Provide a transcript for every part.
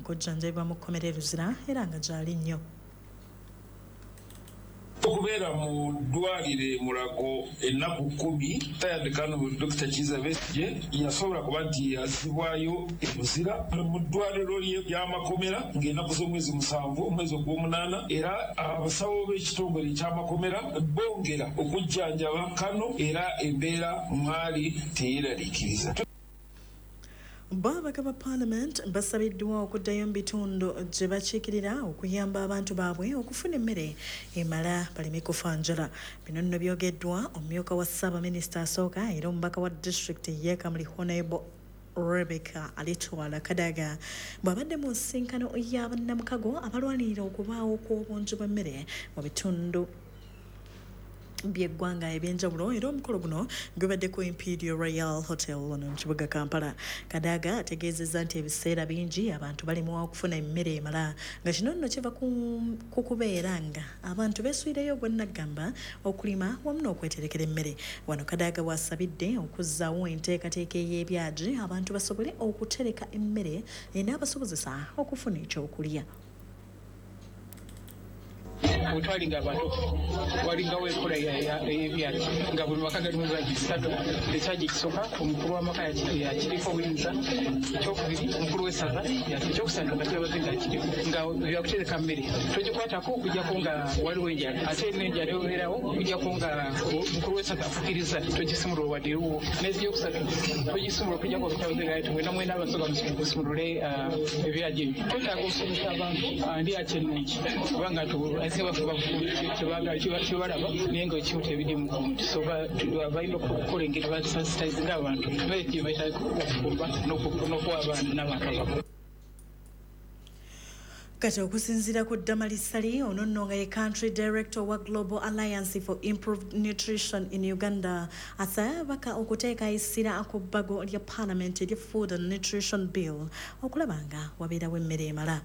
Okujjanjabibwa mu kkomera e Luzira era nga gyali nnyo. Okubeera mu ddwaliro e Mulago ennaku 10, retired Colonel Dr. Kizza Besigye yasobola kuba nti yazzibwayo e Luzira mu ddwaliro ly'amakomera ng'ennaku z'omwezi 7 omwezi ogw'omunaana, era abasawo b'ekitongole eky'amakomera bongera okujjanjaba Kano era embeera mwali teyeraliikiriza. Bo ababaka ba Parliament basabiddwa okuddayo mu bitundu gye bakiikirira okuyamba abantu baabwe okufuna emmere emala baleme kufa njala. Bino nno byogeddwa omumyuka wa Ssaabaminisita asooka era omubaka wa disitulikiti y'e Kamuli Honorable Rebecca Alitwala Kadaga bw'abadde mu nsisinkano ya bannamukago abalwanirira okubaawo kw'obungi bw'emmere mu bitundu by'eggwanga eby'enjawulo, era omukolo guno gubadde ku Imperial Royal Hotel wano mu kibuga Kampala. Kadaga ategeezezza nti ebiseera bingi abantu balemwa okufuna emmere emala, nga kino nno kiva ku kubeera nga abantu beesulireyo ogwannaggamba okulima wamu n'okweterekera emmere. Wano Kadaga bw'asabidde okuzzaawo enteekateeka ey'ebyagi abantu basobole okutereka emmere enaabasobozesa okufuna ekyokulya. Bwe twalinga abato walingawo enkola ey'ebyagi nga buli maka galimu ebyagi 3. Ekyagi ekisooka omukulu w'amaka yakiriko obuyinza, ekyokubiri omukulu w'essaza, ekyokusatu nga kyabaze nga kiriko, nga byakutereka mmere togikwatako okuggyako nga waliwo enjala, ate n'enjala ebeerawo okuggyako nga omukulu w'essaza afukiriza togisimulula wadde ewuwo, n'ekyokusatu togisimulula okuggyako kyabaze nga ati mwena mwena abasoga musimulule ebyagi ebyo. Twetaaga okusomesa abantu ndi akyennungi kubanga kyebalaba naye nga ekimu tebirimu gundi, so balina okukola engeri basensitizinga abantu mmere gye beetaaga okufumba n'okuwa abaana n'abantu abakulu. Kati okusinziira ku Damali Ssali, ono nno nga ye country director wa Global Alliance for Improved Nutrition in Uganda, asabye ababaka okuteeka essira ku bbago lya Parliament erya Food and Nutrition Bill okulaba nga wabeerawo emmere emala.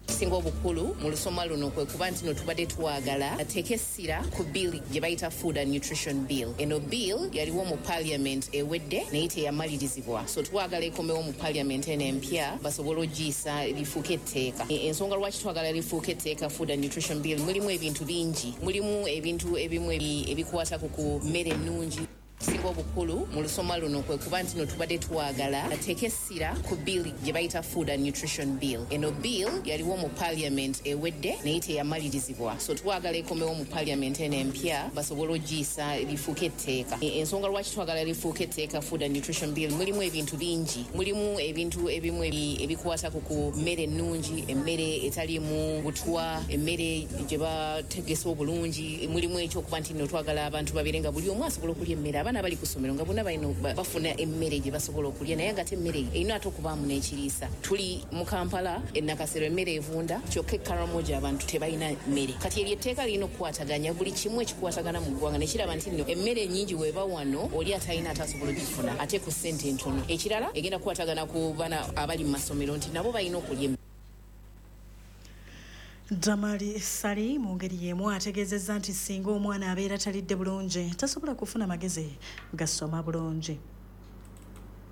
Ekisinga obukulu mu lusoma luno kwe kuba nti no tubadde twagala ateeke essira ku bill gye bayita Food and Nutrition Bill. Eno bill yaliwo mu Parliament ewedde naye teyamalirizibwa, so twagala ekomewo mu Parliament eno empya basobole ogiyisa lifuuke etteeka. Ensonga lwaki twagala lifuuke etteeka Food and Nutrition Bill, mulimu ebintu bingi, mulimu ebintu ebimu ebikwata ku mmere ennungi. Ekisinga obukulu mu lusoma luno kwe kuba nti no tubadde twagala ateeke essira ku bill gye bayita Food and Nutrition Bill. Eno bill yaliwo mu Parliament ewedde naye teyamalirizibwa, so twagala ekomewo mu Parliament eno empya basobole ogiyisa lifuuke etteeka. Ensonga lwaki twagala lifuuke etteeka Food and Nutrition Bill, mulimu ebintu bingi, mulimu ebintu ebimu ebikwata ku mmere ennungi, emmere etaliimu butwa, emmere gye bategese obulungi, mulimu ekyokuba nti nno twagala abantu babeere nga buli omu asobola okulya emmere, abaana abali ku ssomero nga bonna balina bafuna emmere gye basobola okulya, naye nga ate emmere erina ate okubaamu n'ekiriisa. Tuli mu Kampala, e Nakasero emmere evunda, kyokka e Karamoja abantu tebalina mmere. Kati eryo etteeka lirina okukwataganya buli kimu ekikwatagana mu ggwanga ne kiraba nti nno emmere ennyingi bw'eba wano oli atalina ate asobola ogifuna ate ku ssente entono. Ekirala egenda kukwatagana ku baana abali mu masomero nti nabo balina okulya emmere. Damali Ssali mu ngeri y'emu ategeezezza nti singa omwana abeera talidde bulungi tasobola kufuna magezi gasoma bulungi.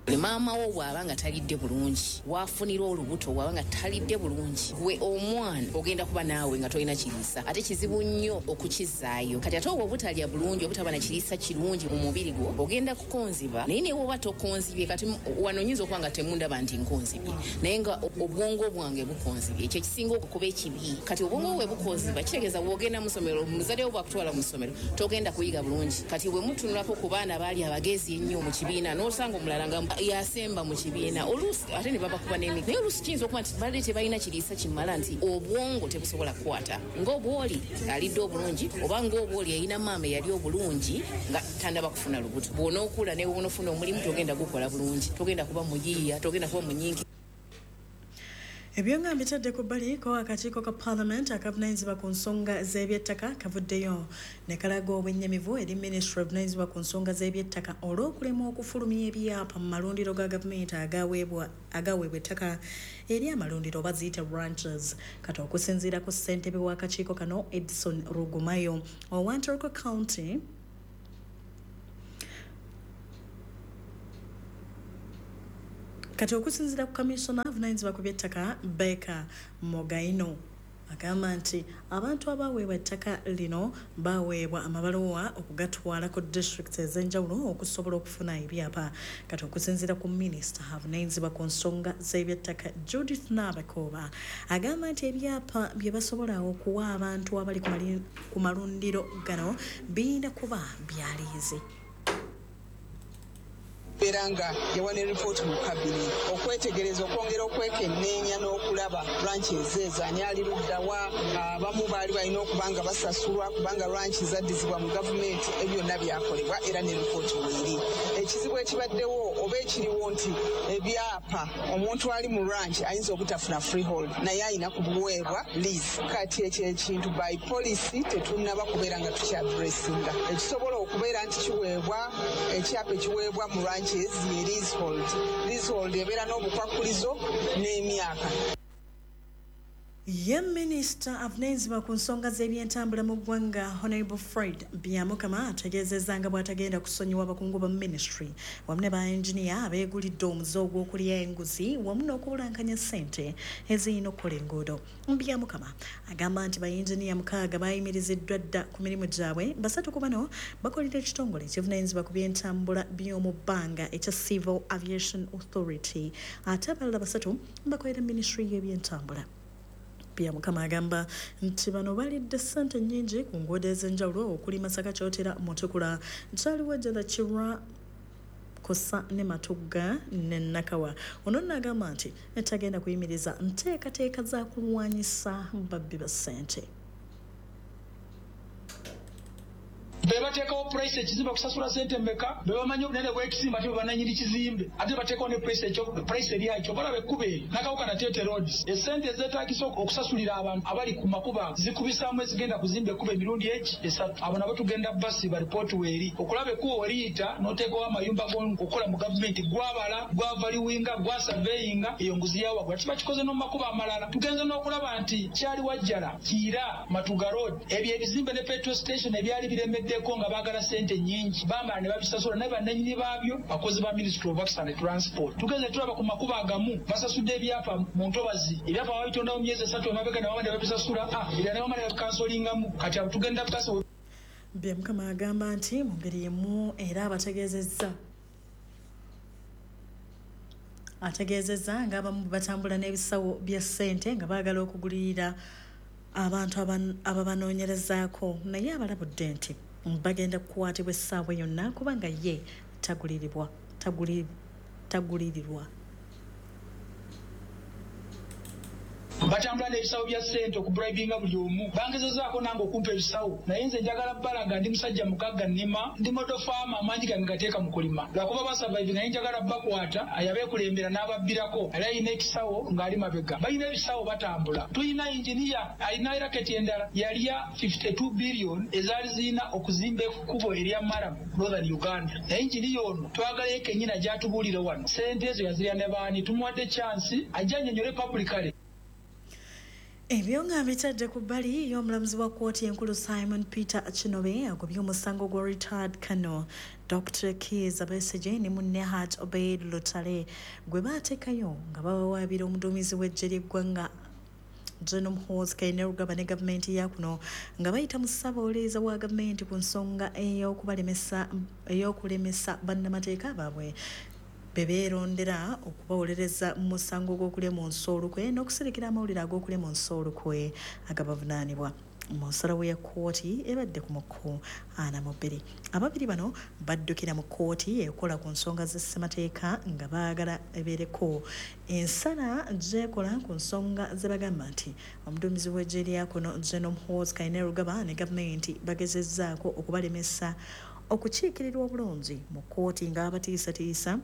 Maama wo bw'aba nga talidde bulungi, w'afunira olubuto bw'aba nga talidde bulungi, gwe omwana ogenda kuba naawe nga tolina kiriisa, ate kizibu nnyo okukizzaayo. Kati ate obwo obutalya bulungi, obutaba na kiriisa kirungi mu mubiri gwo, ogenda kukonziba, naye ne bw'oba tokonzibye, kati wano nnyinza okuba nga temundaba nti nkonzibye, naye nga obwongo bwange bukonzibye, ekyo ekisinga okuba ekibi. Kati obwongo bwe bukonziba, kitegeeza bw'ogenda mu ssomero, muzadde wo bw'akutwala mu ssomero, togenda kuyiga bulungi. Kati bwe mutunulako ku baana abaali abagezi ennyo mu kibiina, n'osanga omulala nga yasemba mu kibiina, oluusi ate ne babakuba n'emiggo, naye oluusi kiyinza okuba nti babadde tebalina kiriisa kimala, nti obwongo tebusobola kukwata ng'obwoli alidde obulungi, oba ng'obwoli yalina maama eyali obulungi nga tannaba kufuna lubuto. Bw'onookula ne bw'onoofuna omulimu togenda gukola bulungi, togenda kuba muyiiya, togenda kuba munyiikivu. Ebyo nga mbitadde ku bbali, ko akakiiko ka Parliament akavunaanyizibwa ku nsonga z'ebyettaka kavuddeyo ne kalaga obwennyamivu eri minisitule evunaanyizibwa ku nsonga z'ebyettaka olw'okulemwa okufulumya ebyapa mu malundiro ga gavumenti agaweebwa ettaka eri amalundiro oba ziyite ranches. Kati okusinziira ku ssentebe w'akakiiko kano Edson Rugumayo owa Ntoroko County, Kati okusinziira ku kamisona avunaanyizibwa ku by'ettaka Baker Mugaino, agamba nti abantu abaweebwa ettaka lino baweebwa amabaluwa okugatwala ku disitulikiti ez'enjawulo okusobola okufuna ebyapa. Kati okusinziira ku minisita avunaanyizibwa ku nsonga z'ebyettaka Judith Nabakooba, agamba nti ebyapa bye basobola okuwa abantu abali ku malundiro gano birina kuba bya liizi. Era nga yawa ne ripooti mu kabineti okwetegereza, okwongera okwekenneenya n'okulaba ranches ezo ani ali luddawa. Abamu baali balina okuba nga basasulwa kubanga ranch zaddizibwa mu gavumenti. Ebyo byonna byakolebwa era ne ripooti weeri. Ekizibu ekibaddewo oba ekiriwo nti ebyapa, omuntu ali mu ranch ayinza obutafuna freehold, naye ayina kubuweebwa lease. Kati ekyo ekintu by policy tetunnaba kubeera nga tukyaddressinga. Ekisobola okubeera nti kiweebwa, ekyapa ekiweebwa mu ranches ye leasehold. Leasehold ebeera n'obukwakkulizo n'emyaka. Ye minisita avunaanyizibwa ku nsonga z'ebyentambula mu ggwanga Honorable Fred Byamukama ategeezezza nga bw'atagenda kusonyiwa abakungu ba ministry wamu ne ba engineer abeegulidde omuze ogw'okulya enguzi wamu n'okubulankanya ssente ezirina okukola enguudo. Byamukama agamba nti ba engineer 6 bayimiriziddwa dda ku mirimu gyabwe. 3 ku bano bakolera ekitongole ekivunaanyizibwa ku byentambula by'omu bbanga ekya Civil Aviation Authority, ate abalala 3 bakolera ministry y'ebyentambula. Byamukama agamba nti bano balidde ssente nnyingi ku nguudo ez'enjawulo okuli Masaka, Kyotera, Mutukula, Kyaliwajjala, Kirwa, Kosa ne Matugga ne Nakawa. Ono nno agamba nti tagenda kuyimiriza nteekateeka za kulwanyisa babbi ba ssente. Be bateekawo price ekizimbe kusasula ssente mmeka, be bamanyi obunene bw'ekizimbe ate be bannannyini kizimbe, ate bateekawo ne price ekyo price eri ekyo balaba ekkubo eryo Nakawuka Nateete Roads, essente ezeetaagisa okusasulira abantu abali ku makubo ago zikubisaamu ezigenda kuzimba ekkubo emirundi egi 3. Abo nabo tugenda basiba ripooti weeri okulaba ekkubo we liyita n'oteekawo amayumba okukola mu gavumenti gwabala, gwavaliwinga, gwasurveyinga, eyo nguzi ya waggulu. Ate bakikoze n'omu makubo amalala. Tugenze n'okulaba nti Kyaliwajjala, Kiira, Matuga Road, ebyo ebizimbe ne petrol station ebyali biremeddeko nga baagala ssente nnyingi, bamala ne babisasula, naye bannannyini baabyo bakozi ba Ministry of Works and Transport. Tugenze tulaba ku makubo agamu basasudde ebyapa mu ntobazi, ebyapa babitondawo myezi 3 emabega ne bamala ne babisasula, ebirala ne bamala ne babikansolingamu. Kati abo tugenda basi. Byamukama agamba nti mu ngeri emu era abategeezezza ng'abamu batambula n'ebisawo bya ssente nga baagala okugulirira abantu ababanoonyerezaako, naye abalabudde nti bagenda kukwatibwa essaawa yonna kubanga ye tagulirirwa. Batambula n'ebisawo bya ssente okubribinga buli omu. Bangezezaako nange okumpa ebisawo, naye nze njagala bbalaga ndi musajja mugagga, nnima, ndi model farmer, amaanyi gange gateeka mu kulima. Lwakuba basurvive, naye njagala bakwata ayabeekulembera n'ababbirako. Ali alina ekisawo ng'ali mabega, balina ebisawo batambula. Tulina engineer alina raketi endala yalya 52 billion ezaali zirina okuzimba ekkubo erya Maramu Northern Uganda, naye engineer ono twagala ye kennyini ajja atubuulire wano ssente ezo yazirya ne baani. Tumuwadde chance ajja annyonnyole publicly. Ebyo nga bitadde ku bbali, y'omulamuzi wa kkooti enkulu Simon Peter Kinobe agobye omusango gwa retired Colonel Dr. Kizza Besigye ne munne Hajji Obeid Lutale gwe baateekayo nga bawawaabira omuduumizi w'eggye ly'eggwanga General Muhoozi Kainerugaba ne gavumenti ya kuno nga bayita mu ssaabawolereza wa gavumenti ku nsonga ey'okulemesa bannamateeka baabwe be beerondera okubawolereza mu musango gw'okulya mu nsi olukwe n'okusirikira amawulire ag'okulya mu nsi olukwe agabavunaanibwa. Mu nsalawo ya kkooti ebadde ku mukku 42, ababiri bano baddukira mu kkooti ekola ku nsonga z'essemateeka nga baagala ebeereko ensala gy'ekola ku nsonga ze bagamba nti omuduumizi w'eggye lya kuno General Muhoozi Kainerugaba ne gavumenti bagezezzaako okubalemesa okukiikirirwa obulungi mu kkooti nga babatiisatiisa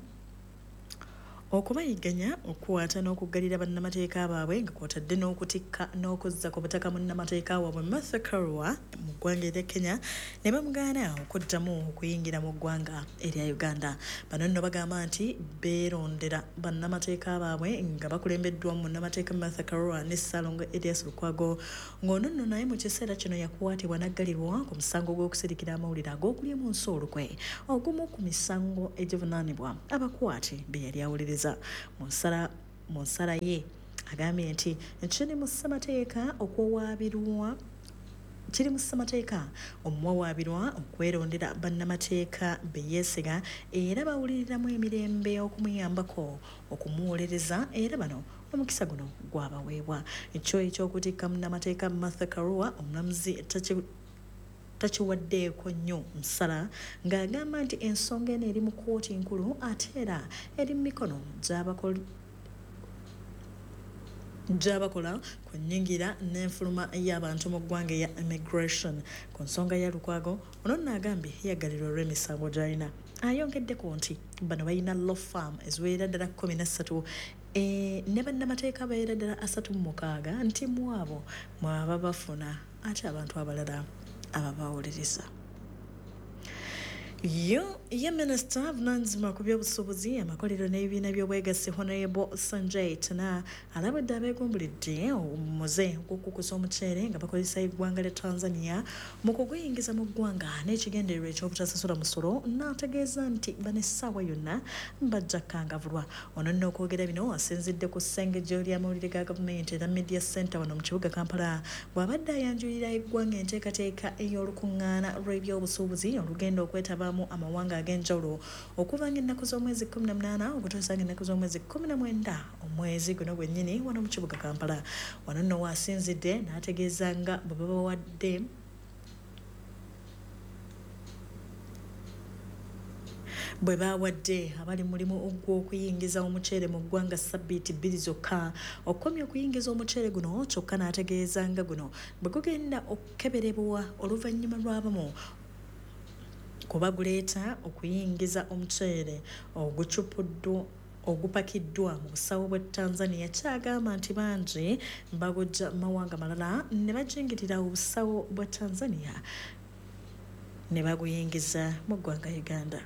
okubayigganya, okukwata n'okuggalira bannamateeka baabwe nga kw'otadde n'okutikka n'okuzza ku butaka munnamateeka waabwe Martha Karua mu ggwanga erya Kenya ne bamugaana okuddamu okuyingira mu ggwanga erya Uganda. Bano nno bagamba nti beerondera bannamateeka baabwe nga bakulembeddwa munnamateeka Martha Karua ne Ssalongo Erias Lukwago, ng'ono nno naye mu kiseera kino yakwatibwa n'aggalirwa ku musango gw'okusirikira amawulire ag'okulya mu nsi olukwe, ogumu ku misango egivunaanibwa abakwate be yali awolereza. Bungereza. Mu nsala ye agambye nti kiri mu ssemateeka okuwawaabirwa kiri mu ssemateeka omuwawaabirwa okwerondera bannamateeka be yeesiga era bawuliriramu emirembe okumuyambako okumuwolereza, era bano omukisa guno gwabaweebwa. Ekyo ekyokutikka munnamateeka Martha Karua omulamuzi takiwaddeeko nnyo nsala, ng'agamba nti ensonga eno eri mu kkooti nkulu ate era eri mu mikono gy'abakola ku nnyingira n'enfuluma y'abantu mu ggwanga eya immigration. Ku nsonga ya Lukwago, ono nno agambye yaggalirwa olw'emisango gy'alina. Ayongeddeko nti bano balina law firm eziwerera ddala 13 ne bannamateeka bawerera ddala 36, nti mu abo mwaba bafuna ate abantu abalala ababawuliriza. Yo ye minisita avunaanyizibwa ku by'obusuubuzi, amakolero n'ebibiina by'obwegassi Honorable Sanjay Tana alabudde abeegumbulidde omuze ogw'okukusa omuceere nga bakozesa eggwanga lya Tanzania mu kuguyingiza mu ggwanga n'ekigendererwa eky'obutasasula musolo, n'ategeeza nti bano essaawa yonna bajja kukangavvulwa. Ono nno okwogera bino asinzidde ku ssengejjo ly'amawulire ga gavumenti era Media Center wano mu kibuga Kampala, bw'abadde ayanjulira eggwanga enteekateeka ey'olukuŋŋaana lw'ebyobusuubuzi olugenda okwetabaamu amawanga ag'enjawulo okuva ng'ennaku z'omwezi 18 okutuusa ng'ennaku z'omwezi 19 omwezi guno gwennyini wano mu kibuga Kampala. Wano nno waasinzidde n'ategeeza nga bwe babawadde bwe bawadde abali mulimu ogw'okuyingiza omuceere mu ggwanga sabbiiti 2 zokka okukomya okuyingiza omuceere guno, kyokka n'ategeeza nga guno bwe gugenda okukeberebwa oluvannyuma lw'abamu kuba guleeta okuyingiza omuceere ogupakiddwa mu busawo bwa Tanzania, kyagamba nti bangi bagujja mawanga malala ne bajingirira obusawo bwa Tanzania ne baguyingiza mu ggwanga Uganda.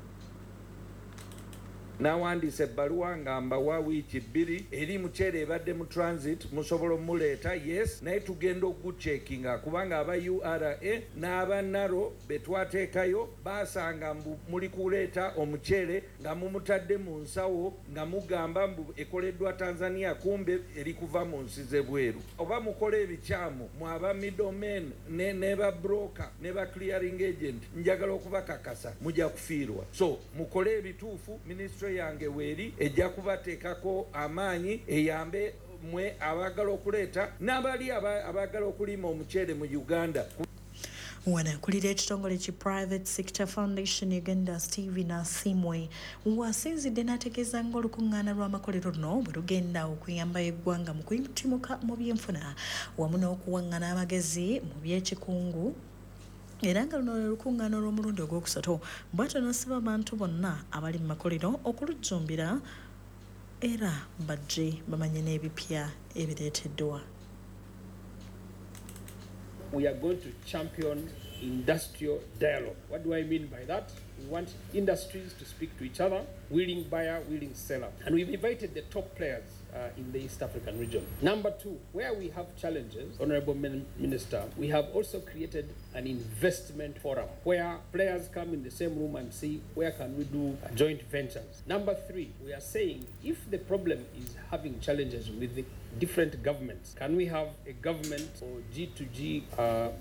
Nawandiise ebbaluwa nga mbawa wiiki 2 eri muceere ebadde mu transit, musobola omuleeta, yes, naye tugenda okugucekinga kubanga aba URA n'aba NARO be twateekayo baasanga mbu muli kuleeta omuceere nga mumutadde mu nsawo nga mugamba mbu ekoleddwa Tanzania, kumbe eri kuva mu nsi z'ebweru. Oba mukola ebikyamu mwaba middlemen ne ba broker ne ba clearing agent, njagala okubakakasa mujja kufiirwa. So mukole ebituufu, ministry yange weeri ejja kubateekako amaanyi eyambe mwe abaagala okuleeta n'abali abaagala okulima omuceere mu Uganda. Wano akulira ekitongole ki Private Sector Foundation Uganda Steven Asimwe wasinzidde n'ategeeza ng'olukuŋŋaana lw'amakolero luno bwe lugenda okuyamba eggwanga mu kuyitimuka mu byenfuna wamu n'okuwaŋŋana amagezi mu by'ekikungu, era nga luno lwe lukuŋŋaana olw'omulundi ogwokusatu. Bw'atyo n'asaba abantu bonna abali mu makolero okulujjumbira era bajje bamanye n'ebipya ebireeteddwa. We are going to champion industrial dialogue. What do I mean by that? We want industries to speak to each other, willing buyer, willing seller. And we've invited the top players in the East African region. Number 2, where we have challenges, Honorable Minister, we have also created an investment forum where players come in the same room and see where can we do joint ventures. Number 3, we are saying if the problem is having challenges with the different governments, can we have a government or G2G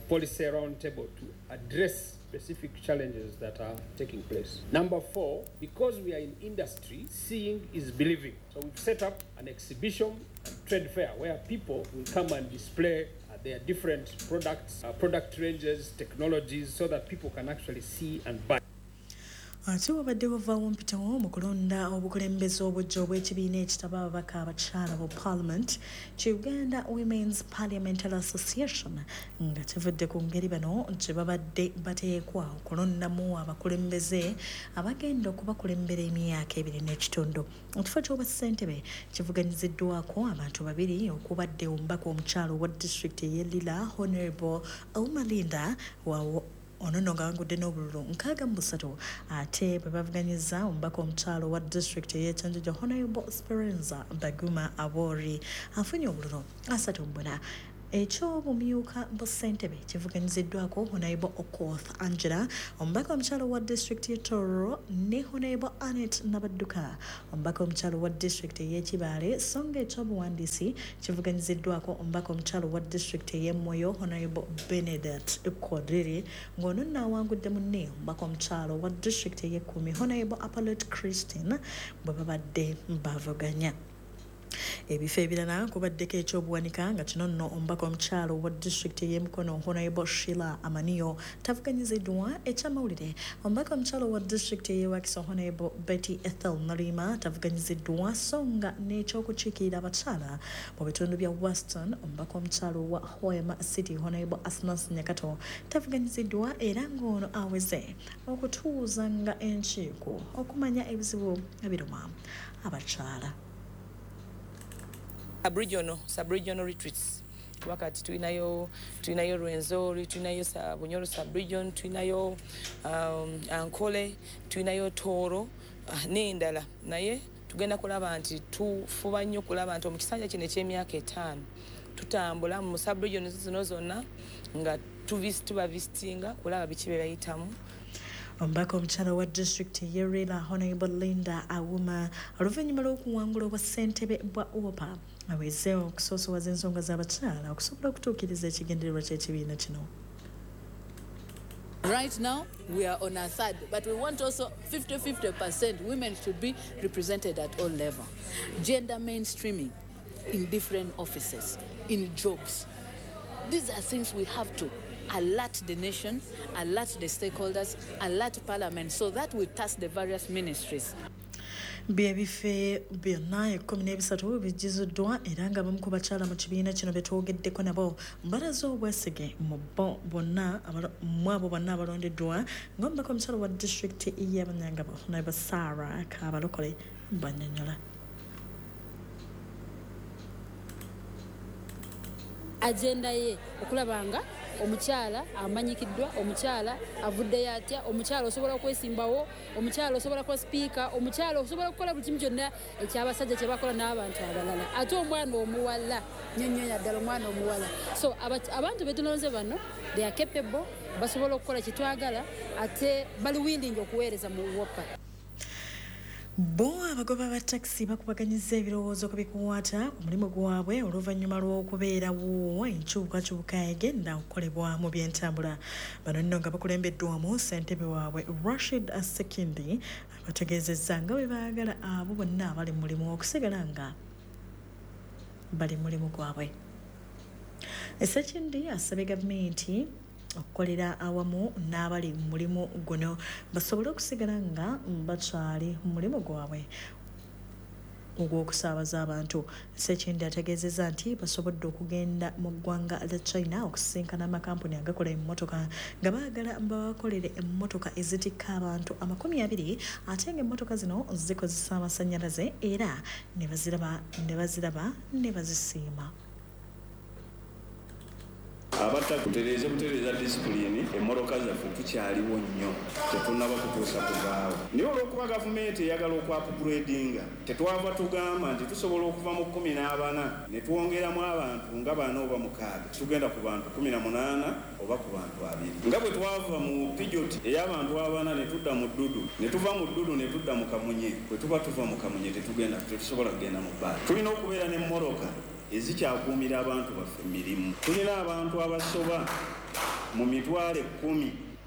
policy roundtable to address specific challenges that are taking place? Number 4, because we are in industry, seeing is believing. So we've set up an exhibition and trade fair where people will come and display their different products, product ranges, technologies, so that people can actually see and buy. Ate wabadde wavaawo mpitawo mu kulonda obukulembeze obujja obw'ekibiina ekitaba ababaka abakyala mu Parliament ki Uganda Women's Parliamentary Association, nga kivudde ku ngeri bano gye babadde bateekwa okulondamu abakulembeze abagenda okubakulembera emyaka 2.5. Ekifo ky'obwassentebe kivuganyiziddwako abantu babiri, okubadde omubaka omukyala owa disitulikiti ey'e Lira Honorable Omalinda ono nno ng'awangudde n'obululu 63, ate bwe bavuganyiza omubaka omukyala owa disitulikiti ey'e Kyanjanja Honorable Sperenza Baguma Abori afunye obululu 34. Eky'obumyuka bwa ssentebe kivuganyiziddwako Honorable Okoth Angela, omubaka omukyala wa disitulikiti y'e Tororo, ne Honorable Annet Nabadduka, omubaka omukyala wa disitulikiti ey'e Kibaale. So nga ekyobuwandiisi kivuganyiziddwako omubaka omukyala wa disitulikiti ey'e Moyo, Honorable Benedict Kodiri, ng'ono nno awangudde munne omubaka omukyala wa disitulikiti ey'e Kumi, Honorable Apolot Christine, bwe babadde bavuganya. Ebifo ebirala kubaddeko ekyobuwanika, nga kino nno omubaka omukyala wa disitulikiti ey'e Mukono, Honorable Sheila Amaniyo, tavuganyiziddwa. Ekyamawulire, omubaka omukyala wa disitulikiti ey'e Wakiso, Honorable Betty Ethel Nalima, tavuganyiziddwa. So nga n'ekyokukiikirira abakyala mu bitundu bya Western, omubaka omukyala wa Hoima City, Honorable Asnas Nyakato, tavuganyiziddwa, era ng'ono aweze okutuuzanga enkiiko okumanya ebizibu ebiruma abakyala. Sub-regional, sub-regional retreats, kuba kati tulinayo Rwenzori, tulinayo Bunyoro sub-region, tulinayo Ankole, tulinayo Tooro n'endala. Naye tugenda kulaba nti tufuba nnyo kulaba nti omukisanja kino eky'emyaka 5 tutambula mu sub-region zino zonna nga tubavisitinga kulaba biki bye bayitamu. Omubaka omukyala wa disitulikiti ey'e Lira, Honorable Linda Awuma, oluvannyuma lw'okuwangula obwa ssentebe bwa UWOPA, aweze okusoosowaza ensonga z'abakyala okusobola okutuukiriza ekigendererwa ky'ekibiina kino. Right now, we are on a third, but we want also 50-50%. Women should be represented at all level. Gender mainstreaming in different offices, in jobs. These are things we have to alert the nation, alert the stakeholders, alert parliament, so that we task the various ministries. Byebifo byonna 13 bijjuziddwa, era nga abamu ku bakyala mu kibiina kino betwogeddeko nabo balaze obwesige mu bo bonna mu abo bonna abalondeddwa, ng'omubaka omukyala wa disitulikiti y'e Bunyangabo, Honorable Sarah Kabalokole, banyonyola. Agenda ye okulaba nga omukyala amanyikiddwa, omukyala avuddeyo atya, omukyala osobola okwesimbawo, omukyala osobola kuba sipiika, omukyala osobola okukola buli kimu kyonna ekyabasajja kye bakola n'abantu abalala, ate omwana omuwala nnyo ddala omwana omuwala. So abantu betulonze bano, they are capable, basobola okukola kyetwagala, ate bali willing okuweereza mu UWOPA. Bo abagoba ba takisi bakubaganyiza ebirowoozo ku bikwata ku mulimu gwabwe oluvannyuma lw'okubeerawo enkyukakyuka egenda okukolebwa mu byentambula. Bano nno nga bakulembeddwamu ssentebe waabwe Rashid Sekindi, abategeezezza nga bwe baagala abo bonna abali mu mulimu okusigala nga bali mu mulimu gwabwe. Sekindi asabye gavumenti okukolera awamu n'abali mu mulimu guno basobole okusigala nga bakyali mu mulimu gwabwe ogw'okusaabaza abantu. Sekindi ategeezezza nti basobodde okugenda mu ggwanga lya China okusisinkana amakampuni agakola emmotoka, nga baagala babakolere emmotoka ezitikka abantu 20, ate ng'emmotoka zino zikozesa amasannyalaze, era ne baziraba ne bazisiima. Abatta tutereeze butereeza disipulini. Emmotoka zaffe tukyaliwo nnyo, tetunnaba kutuusa kuvaawo, naye olw'okuba gavumenti eyagala okwupgradinga, tetwava tugamba nti tusobola okuva mu 14 ne twongeramu abantu nga bana oba mukaaga, tugenda ku bantu 18 oba ku bantu 20, nga bwe twava mu Peugeot ey'abantu abana ne tudda mu Dodo, ne tuva mu Dodo ne tudda mu Kamunye. Bwe tuba tuva mu Kamunye tetugenda, tetusobola kugenda mu bbaala. Tulina okubeera n'emmotoka ezikyakuumira abantu baffe mirimu. Tulina abantu abasoba mu 10,000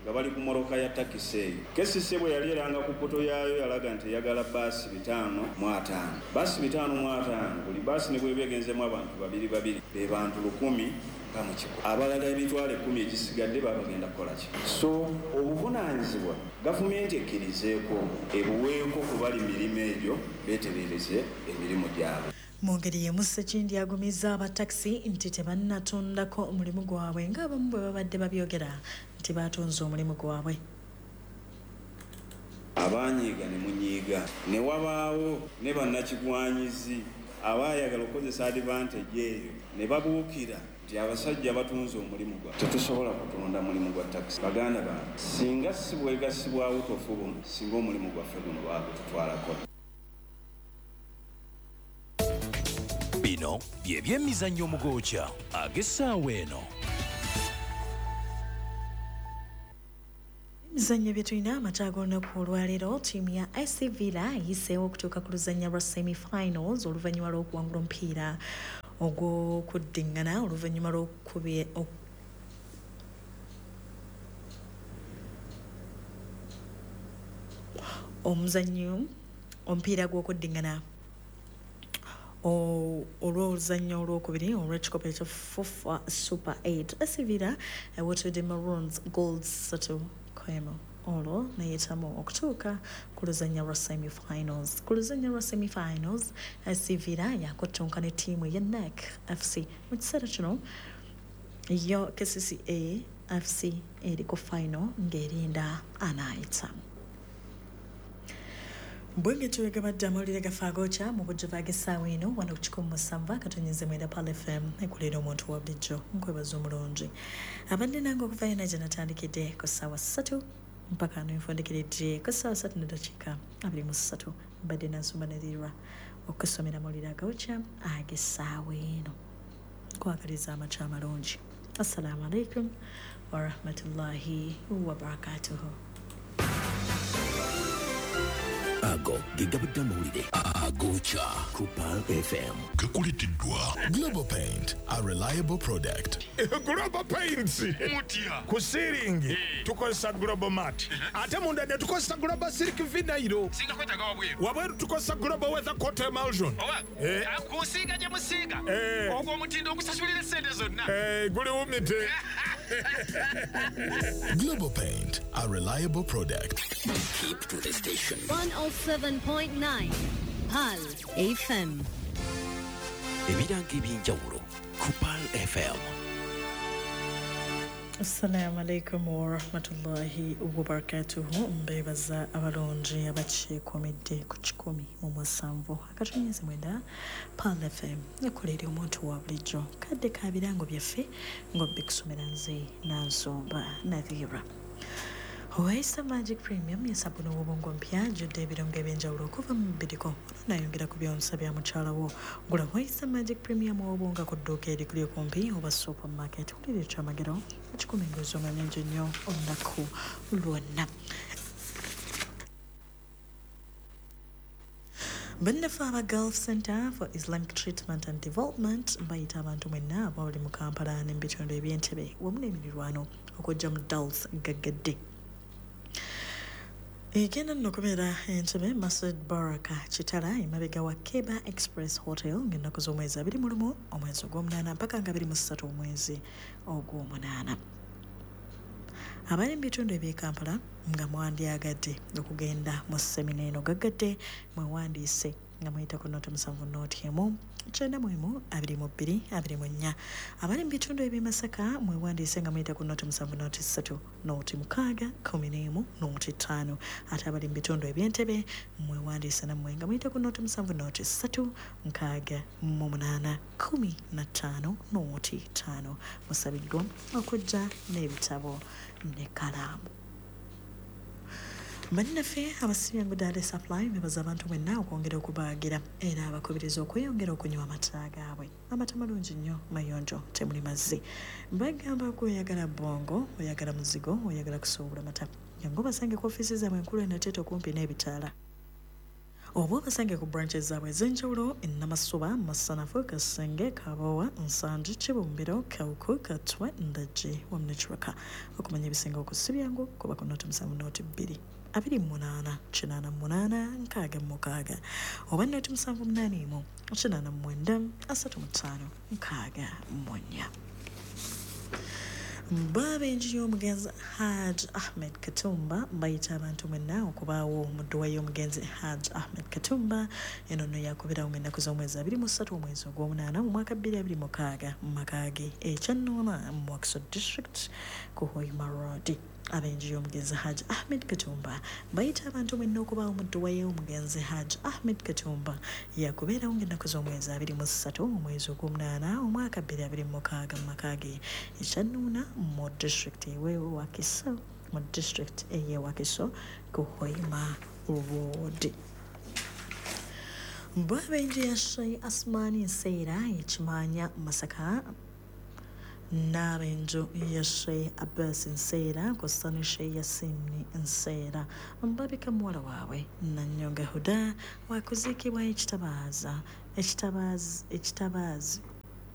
nga bali ku mmotoka ya takisi eyo. KCCA bwe yali eranga ku portal yaayo, yalaga nti eyagala baasi 550, baasi 550. Buli baasi ne bweba egenzemu abantu babiri babiri, be bantu 1,100. Abalala 10,000 egisigadde baba bagenda kukola ki? So obuvunaanyizibwa gavumenti ekkirizeeko ebuweeko ku bali mirimu egyo, beetereereze emirimu gyabwe. Mu ngeri y'emu, Sekindi agumizza abatakisi nti tebannatundako omulimu gwabwe ng'abamu bwe babadde babyogera nti batunze omulimu gwabwe. Abanyiiga ne munyiiga, ne wabaawo ne bannakigwanyizi abaayagala okukozesa advantage eyo ne babuukira nti abasajja batunze omulimu gwa. Tetusobola kutunda mulimu gwa takisi, baganda bange. Singa si bwegasibwa butofu buno, singa omulimu gwaffe guno baagututwalako. Bino bye byemizannyo omugokya ag'essaawa eno. Emizannyo bye tulina amata ag'olunaku olwaleero, ttiimu ya SC Villa eyiseewo okutuuka ku luzannya lwa semi-finals oluvannyuma lw'okuwangula omupiira ogw'okuddiŋŋana oluvannyuma lw'okukubye omuzannyo omupiira gw'okuddiŋŋana olw'oluzannya olwokubiri olw'ekikopo ekya FUFA Super 8. SC Villa ewotedde Maroons goals 3-1, olwo neyitamu okutuuka ku luzannya lwa semi-finals. Ku luzannya lwa semi-finals, SC Villa yakuttunka ne ttiimu eya NEC FC. Mu kiseera kino yo KCCA FC eri ku final ng'erinda anaayita. Bwenge tuwegabadde amawulire gaffe agookya mu bujjuvu ag'essaawa eno wano ku 107.9 Pearl FM, ekulira omuntu wa bulijjo. Nkwebaza omulungi abadde nange okuva yona gye natandikidde ku ssaawa 3 mpaka nenfundikiridde ku ssaawa 3:23. Mbadde nansumba nerirwa okusomera amawulire agawokya ag'essaawa eno. Nkwagaliza amakya amalungi. Assalamu alaikum warahmatullahi wabarakatuhu. Ago ge gabadde amawulire agokya ku Pearl FM. Gakuleteddwa Global Paint, a reliable product. Global Paints. Mutya. Ku ceiling tukozesa Global Mat, ate munda ne tukozesa Global Silk Vinyl. Singa kwetaaga wabweru. Wabweru tukozesa Global Weather Coat Emulsion. Owa kusiiga gye musiiga, ogwo omutindo ogusasulira essente zonna. Guli wumite. Global Paint, a reliable product. Keep to the station. 107.9 Pearl FM. Ebirango ebyenjawulo ku Pearl FM. Assalamu alaikum warahmatullahi wabarakatuhu. Mbebaza abalungi abakyekuumidde ku 107.9 Pearl FM, ekolera omuntu wa bulijjo. Kadde ka birango byaffe ng'obikusomera nze Nansumba Nadhira. Owaisa Magic Premium yesabuni w'obwongo mpya ajjudde ebirungo ebyenjawulo okuva mu mubiriko, nayongera ku byonsa bya mukyala wo. Gula Waisa Magic Premium w'obwonga ku dduuka erikuli okumpi oba supermarket. Wulira ekyamagero ekikuma engozi nga nnyingi nnyo olunaku lwonna. Bannaffe aba Gulf Center for Islamic Treatment and Development bayita abantu mwenna abali mu Kampala ne mu bitundu eby'Entebbe wamu n'emirirwano okujja mu Dals gaggadde. Egenda nno okubeera Entebbe, Masjid Baraka Kitala, emabega wa Keba Express Hotel, ng'ennaku z'omwezi 21 omwezi ogw'omunaana mpaka nga 23 omwezi ogw'omunaana. Abali mu bitundu eby'e Kampala nga mwandyagadde okugenda mu semina eno gaggadde, mwewandiise nga muyita ku 070 1 91 22 24. Abali mu bitundu eby'e Masaka mwewandiise nga muyita ku 070 3 06 11 05. Ate abali mu bitundu eby'Entebbe mwewandiise nammwe nga muyita ku 070 3 68 15 05. Musabiddwa okujja n'ebitabo n'ekkalaamu. Bannaffe abasibyangu Dale Supply bebaza abantu mwenna okwongera okubaagira, era abakubiriza okweyongera okunywa amata gaabwe. Amata malungi nnyo, mayonjo, temuli mazzi. Bagamba gwe oyagala bwongo, oyagala muzigo, oyagala kusuubula mata, jangu obasange ku ofiisi zaabwe enkulu e Nateete okumpi n'ebitaala, oba obasange ku branches zaabwe ez'enjawulo e Namasuba, Masanafu, Kasenge, Kabowa, Nsangi, Kibumbiro, Kawuku, Katwe, Ndajje wamu ne Kiraka. Okumanya ebisinga okusibyangu kuba ku 070 2 28 88 66 oba 078 89 35 64. Babenji y'omugenzi Haj Ahmed Katumba bayita abantu mwenna okubaawo mu dduwa y'omugenzi Haj Ahmed Katumba. Eno nno yakubirawo ng'ennaku z'omwezi 23 omwezi ogw'omunaana mu mwaka 2026 mu maka ge e Kyannoona mu Wakiso District ku Hoima Road. Abenji y'omugenzi Haj Ahmed Katumba bayita abantu mwenna okubaawo mu dduwa y'omugenzi Haj Ahmed Katumba. Yakubeerawo ng'ennaku z'omwezi 23 omwezi ogw'omunaana omwaka 2026 mu maka ge e Kyannoona mu district ewe Wakiso, mu district ey'e Wakiso ku Hoima Road. Bw'ab'enju ya Sheikh Asmani Nseera ekimanya Masaka n'ab'enju ya Sheikh Abbas Nseera kw'ossa ne Sheikh Yasin Nseera mbabika muwala waabwe Nanyonga Huda wakuziikibwa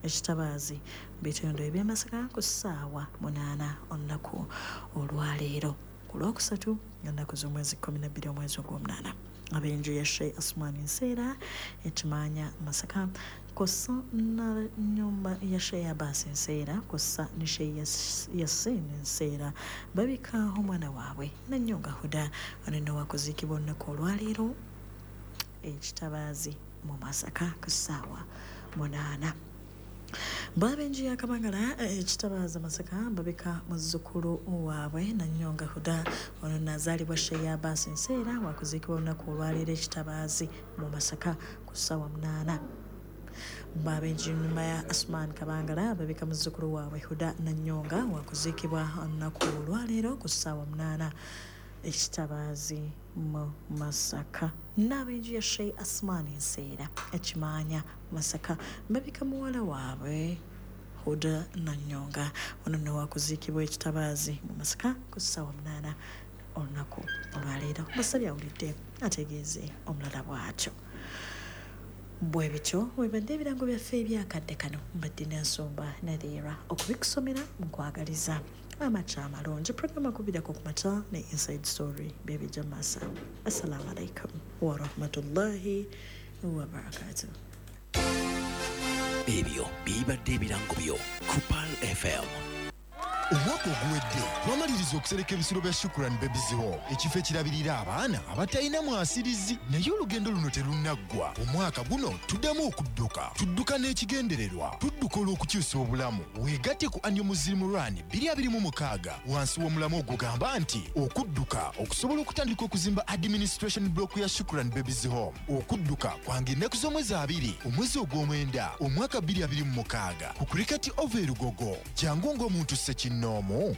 ekitabaazi bitundu eby'Amasaka ku ssaawa 8 olunaku olwaleero ku Lwokusatu ennaku z'omwezi 12 omwezi ogw'omunaana. Ab'enju ya Sheikh Asmani Nseera ekimanya Masaka kw'ossa n'ennyumba ya Sheikh Abbas Nseera kw'ossa ne Sheikh Yasin Nseera babika omwana waabwe Nanyonga Huda ono nno wakuziikibwa olunaku olwaleero ekitabaazi mu Masaka ku ssaawa 8. Bw'ab'enju ya Kabangala ekitabaazi Masaka babika muzzukulu waabwe Nanyonga Huda ono nazaalibwa Sheikh Abbas Nseera wakuziikibwa olunaku olwaleero ekitabaazi mu Masaka ku ssaawa 8. Bw'ab'enju ya Asman Kabangala babika muzzukulu waabwe Huda Nanyonga wakuziikibwa olunaku olwaleero ku ssaawa 8 ekitabaazi mu Masaka. N'ab'enju ya Sheikh Asman Nseera ekimanya Masaka babika muwala waabwe Huda Nanyonga ono nno wakuziikibwa ekitabaazi mu Masaka ku ssaawa 8 olunaku olwaleero. Basabye awulidde ategeeze omulala bw'atyo. Bwe bityo webadde ebirango byaffe ebyakadde kano. Mbadde n'ensumba Nadhira okubikusomera nkwagaliza amakya amalungi. Programu akubirako ku makya ne Inside Story bebijja maaso. Assalamu alaikum warahmatullahi wabarakatuh. Ebyo bibadde ebirango byo ku Pearl FM. Omwaka oguwedde twamaliriza okusereka ebisulo bya Shukran Babies Home, ekifo ekirabirira abaana abatalina mwasirizi. Naye olugendo luno terunnaggwa. Omwaka guno tuddamu okudduka, tudduka n'ekigendererwa, tudduka olw'okukyusa obulamu. Weegatte ku Annual Muslim Run 2026 wansi w'omulamu ogugamba nti okudduka okusobola okutandika okuzimba administration block ya Shukran Babies Home. Okudduka kwange ennaku z'omwezi 2 omwezi ogw'omwenda omwaka 2026 ku Cricket Oval e Lugogo. Jangu ng'omuntu ssekinoomu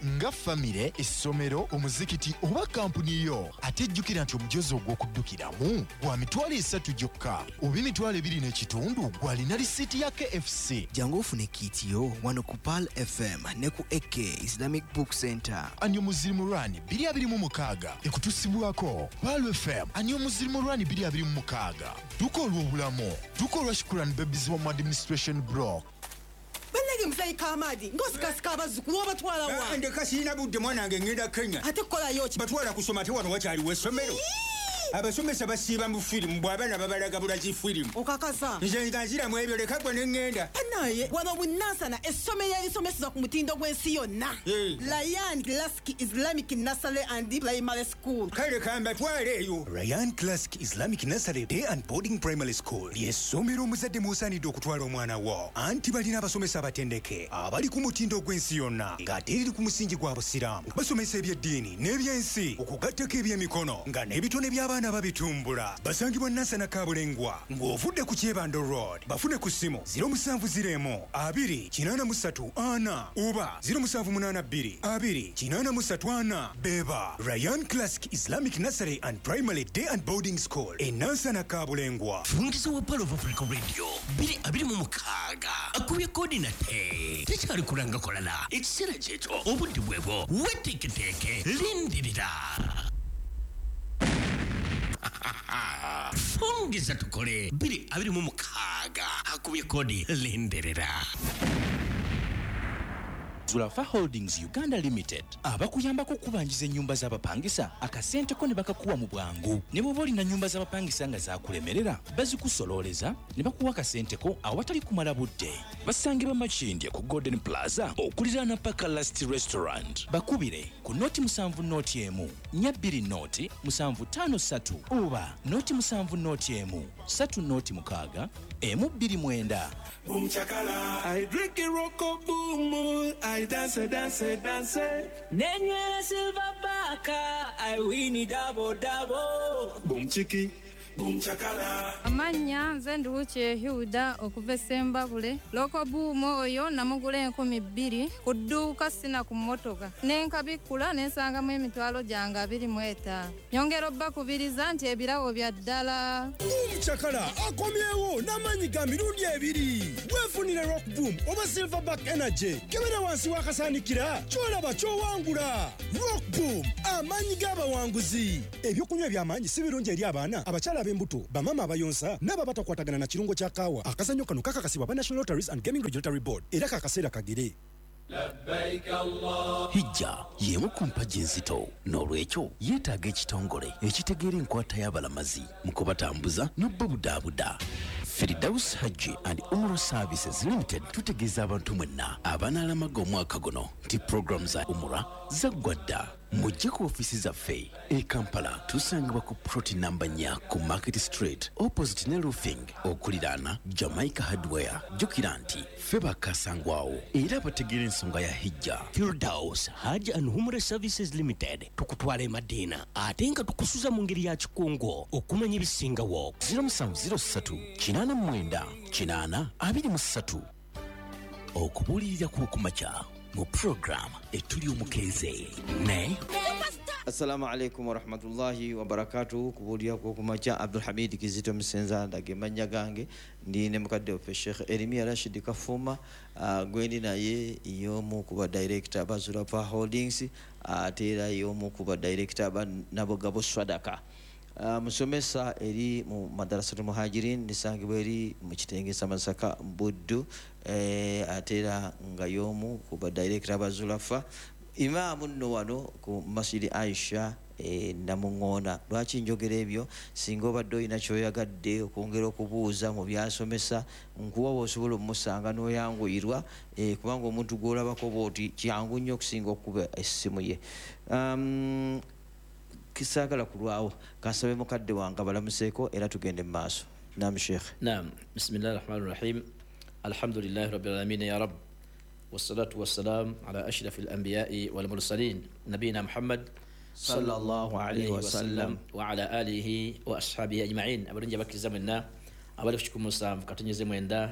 nga famire, essomero, omuzikiti oba kampuni yo. Ate jjukira nti omujozi ogw'okuddukiramu gwa 300,000 gyokka oba 2,500 gw'alina risiiti ya KFC. Jangu ofune kiiti yo wano ku Pearl FM ne ku AK Islamic Book Center. Annual Muslim Run 2026 ekutusibwako Pearl FM. Annual Muslim Run 2026 dduka olw'obulamu, dduka olwa Shukran Babies Home Administration Block. Bannange muzeeyi Kamadi ng'osikasika abazzukulu obatwala wa? Ndeka sirina budde mwanange, ngenda Kenya. Ate kukolayo ki? Batwala kusoma ate wano wakyaliwo essomero. Abasomesa basiiba mu firimu bw'abaana babalaga bulazi firimu. Okakasa? Nze nga nziramu ebyo leka gwe ne ŋŋenda. Bannaye wano Bunansana essomero erisomeseza ku mutindo gw'ensi yonna. Ryan Classic Islamic Nursery and Primary School. Kale kambatwale eyo. Ryan Classic Islamic Nursery Day and Boarding Primary School ly'essomero omuzadde mw'osaanidde okutwala omwana wo. Anti balina abasomesa abatendeke abali ku mutindo gw'ensi yonna ng'ate eriri ku musingi gwa Busiraamu. Basomesa eby'eddiini n'ebyensi okugattako ebyemikono nga n'ebitone by'abaana babitumbula. Basangibwa Nansana Kabulengwa ng'ovudde ku Kyebando Road. Bafune ku ssimu 0701 2 83 4 oba 0782 2 83 4. Beba Ryan Classic Islamic Nursery and Primary Day and Boarding School e Nansana Kabulengwa. Fungiza wa Pearl of Africa Radio 2026 akubye kodi nate tekyali kulanga kolala ekiseera kyekyo obudde bwebwo weteeketeeke lindirira. Fungiza tukole 2026 akubye kodi lindirira. Zulafa Holdings Uganda Limited abakuyambako okubanjiza ennyumba z'abapangisa akasente ko ne bakakuwa mu bwangu. Ne bw'oba olina nnyumba z'abapangisa nga zaakulemerera bazikusololeza ne bakuwa akasente ko awatali kumala budde. Basangibwa Makindye ku Golden Plaza okuliraana Paka Last Restaurant. Bakubire ku 070 1 20 753 oba 070 1 306 129. Boom chakala, I drink a roko boom, I dance, dance, dance. Nenywera silver baka, I win it double, double. Boom chiki, boom chakala. Amannya nze Nduwuki Hilda okuva e Ssembabule. Loko boom oyo namugula 2000 ku dduuka sina ku mmotoka. Ne nkabikkula ne nsangamu emitwalo gyange 25. Nyongera obbakubiriza nti ebirabo bya ddala. Boom Omukyakala akomyewo n'amaanyi ga mirundi ebiri. Weefunire Rock Boom oba Silverback Energy. Kebera wansi w'akasaanikira ky'olaba ky'owangula. Rock Boom, amaanyi g'abawanguzi. Ebyokunywa eby'amaanyi si birungi eri abaana, abakyala ab'embuto, bamaama abayonsa n'abo abatakwatagana na kirungo kya kaawa. Akazannyo kano kakakasibwa ba National Lotteries and Gaming Regulatory Board era kakaseera kagere. Hijja y'emu ku mpagi enzito, n'olwekyo yeetaaga ekitongole ekitegeera enkwata y'abalamazi mu kubatambuza n'obubudaabuda. Firdaus Hajji and Umrah Services Limited tutegeeza abantu mwenna abanaalamaga omwaka guno nti puroguramu za Umrah zaggwa dda. Mujje ku ofiisi zaffe e Kampala, tusangibwa ku plot namba 4 ku Market Street opposite ne Roofing okuliraana Jamaica Hardware. Jjukira nti ffe bakasangwawo era bategeera ensonga ya hijja. Firdaus Hajj and Umrah Services Limited tukutwala e Madina ate nga tukusuza mu ngeri ya kikungo okumanya ebisingawo. 0703 89 8 23. Okubuulirira kw'okumakya mu program etuli omukeeze ne Assalamu alaikum warahmatullahi wabarakatuh. Kubuulira kw'okumakya, Abdulhamid Kizito Musenza ndage mannya gange, ndi ne mukadde waffe Sheikh Eremia Rashid Kafuma, gwendi naye y'omu ku ba director ba Zurafa Holdings, ate era y'omu ku ba director ba Nabogabo Swadaka. Musomesa eri mu Madrasatul Muhajirin nisangibwa eri mu kitenge Masaka Buddu, ate era nga y'omu ku ba director ba Zulafa. Imaamu nno wano ku Masjidi Aisha Namuŋŋoona. Lwaki njogera ebyo? Singa obadde olina ky'oyagadde okwongera okubuuza mu byasomesa, nkuwa bw'osobola omusanga n'oyanguyirwa, kubanga omuntu gw'olabako bw'oti kyangu nnyo okusinga okukuba essimu ye. Kisaagala kulwawo, kansabe mukadde wange abalamuseeko era tugende mu maaso. Naam Sheikh. Naam, bismillahi rahmani rahim. Alhamdulillahi rabbil alamin ya rab. Wassalatu wassalam ala ashrafil anbiya'i wal mursalin nabiyina Muhammad sallallahu alayhi wasallam wa ala alihi wa ashabihi ajma'in. Abalungi abakkiriza mwenna abali ku 7.9,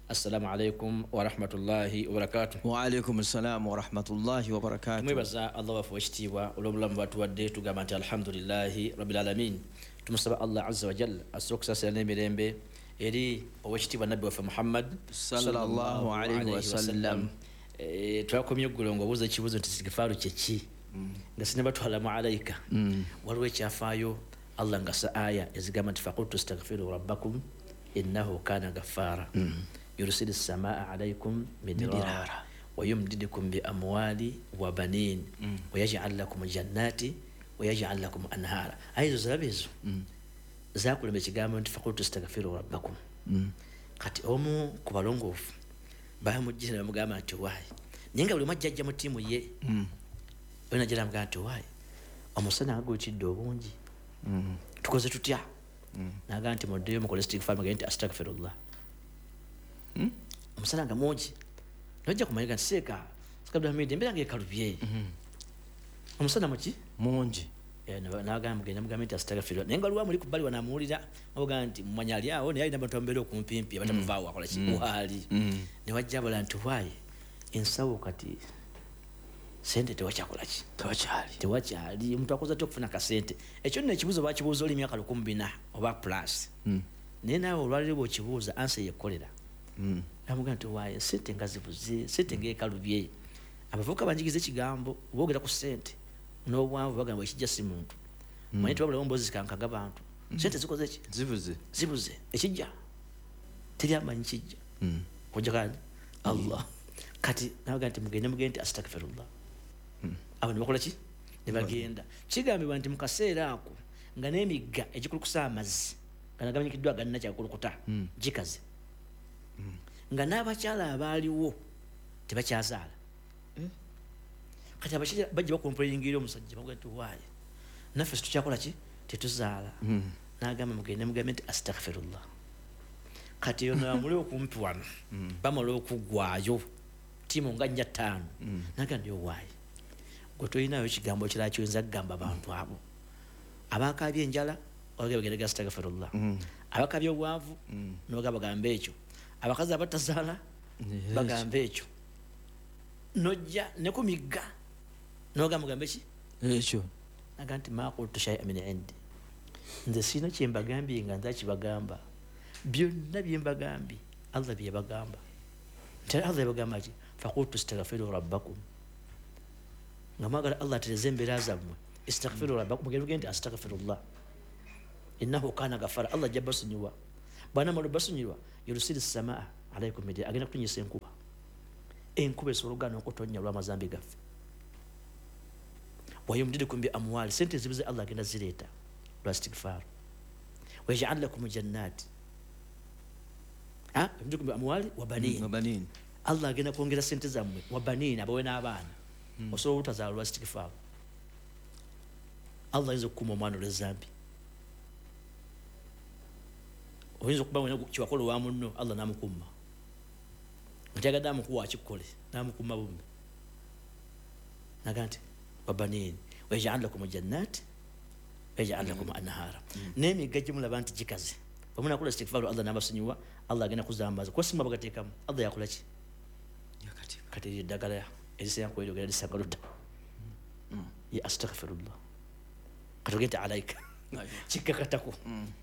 assalamu alaikum wa rahmatullahi wa barakatuh. Wa alaikum assalam wa rahmatullahi wa barakatuh. Tumwebaza Allah waffe ow'ekitiibwa olw'obulamu bw'atuwadde, tugamba nti alhamdulillahi rabbil alamin. Tumusaba Allah azza wa jalla asse okusaasira n'emirembe eri ow'ekitiibwa nabbi waffe Muhammad sallallahu alayhi wasallam. Twakomye eggulo ng'obuuza ekibuuzo nti istigifaaru kye ki, nga sinnabatwala mu alaika. Waliwo ekyafaayo Allah nga sa aya ezigamba nti faqultu astaghfiru rabbakum innahu kana ghaffara yursilu samaa alaykum midrara wa yumdidukum bi amwali wa banin wa yaj'al lakum jannati wa yaj'al lakum anhara. Aya ezo ziraba ezo zakulema ekigambo nti faqultu astaghfiru rabbakum. Kati omu ku balongoofu bamujjira ne bamugamba nti waayi, naye nga buli omu ajja mu ttiimu ye, olina ajja n'amugamba nti waayi, omusana nga guyitidde obungi, tukoze tutya? N'agamba nti muddeyo mukole istighfar, mugende nti astaghfirullah. Omusana nga mungi, nojja kumanya nti seeka Abdulhamid embeera ng'ekalubye, omusana muki mungi. N'agamba mugende mugambe nti astaghfirullah, naye nga waliwo amuli ku bbali wano amuwulira, amugamba nti mumanya ali awo naye alina abantu abamubeera okumpimpi abatamuvaawo akola ki waali. Ne wajja abalala nti waayi, ensawo kati sente tewakyakola ki, tewakyali omuntu akoze atya okufuna akasente. Ekyo nno ekibuuzo bakibuuza oli emyaka 1400 oba plus, naye naawe olwaleero bw'okibuuza ansa yekkolera. Namugamba nti waayi, sente nga zibuze, sente ng'ekalubye. Abavubuka banjigiza ekigambo boogera ku sente n'obwanvu, bagamba ekijja si muntu. Manye tewabulawo mboozi zikankaga bantu. Sente zikoze ki? Zibuze. Zibuze. Ekijja teri amanyi kijja kujja kani Allah. Kati nabaga nti mugende mugende nti astaghfirullah. Abo ne bakola ki? Ne bagenda. Kigambibwa nti mu kaseera ako nga n'emigga egikulukusa amazzi nga nagamanyikiddwa agannakyankulukuta gikaze, nga n'abakyala abaaliwo tebakyazaala. Kati abasajja bajja bakomplainingira omusajja bamugaa nti waayi, naffe situkyakola ki, tetuzaala. N'agamba mugende mugambe nti astaghfirullah. Kati yono amuli okumpi wano bamala okuggwayo ttiimu nga 4 5. N'agamba nti owaayi, gwe tolinayo ekigambo kirala kyoyinza kugamba bantu abo abakaabye enjala, obagendega astaghfirullah, abakaabye obwavu n'ogamba bagambe ekyo, abakazi abatazaala bagambe ekyo, nojja ne ku migga n'ogamba mugambe ki ekyo. Naga nti ma qultu shay'an min indi, Nze sirina kyembagambye nga nze akibagamba. Byonna byembagambye Allah byebagamba. Nti Allah yabagamba ki? Fakultu istaghfiru rabbakum. Nga mwagala Allah atereze embeera zammwe, istaghfiru rabbakum, mugende nti astaghfirullah innahu kana ghafara. Allah ajja basonyiwa. Bw'anaamala obasonyiwa, yurusili samaa alaikum midyara, agenda kutunyisa enkuba. Enkuba esobola okugaana okutonnya olw'amazambi gaffe. Wayumdidukum bi amwali, sente zibuze Allah agenda zireeta lwa istighfar. Wayaj'al lakum jannat, yumdidukum bi amwali wa banin, Allah agenda kwongera sente zammwe, wa banin, abawe n'abaana. Osobola obutazaala lwa istighfar. Allah ayinza okukuuma omwana olw'ezambi. Oyinza okuba wena kiwakola owa munno, Allah n'amukuuma. Nga tyagadde amukuwa akikole, n'amukuuma bummi. Naga nti wabanin wayaj'al lakum jannat wayaj'al lakum anhara. N'emigga gye mulaba nti gikaze, bwe munaakola istighfar Allah n'abasonyiwa, Allah agenda kuzambaza. Kuba si mmwe abagateekamu, Allah yakola ki? Kati eryo eddagala erisinga kweryogera lisanga ludda. Ye astaghfirullah. Kati ogende alaika kikakatako.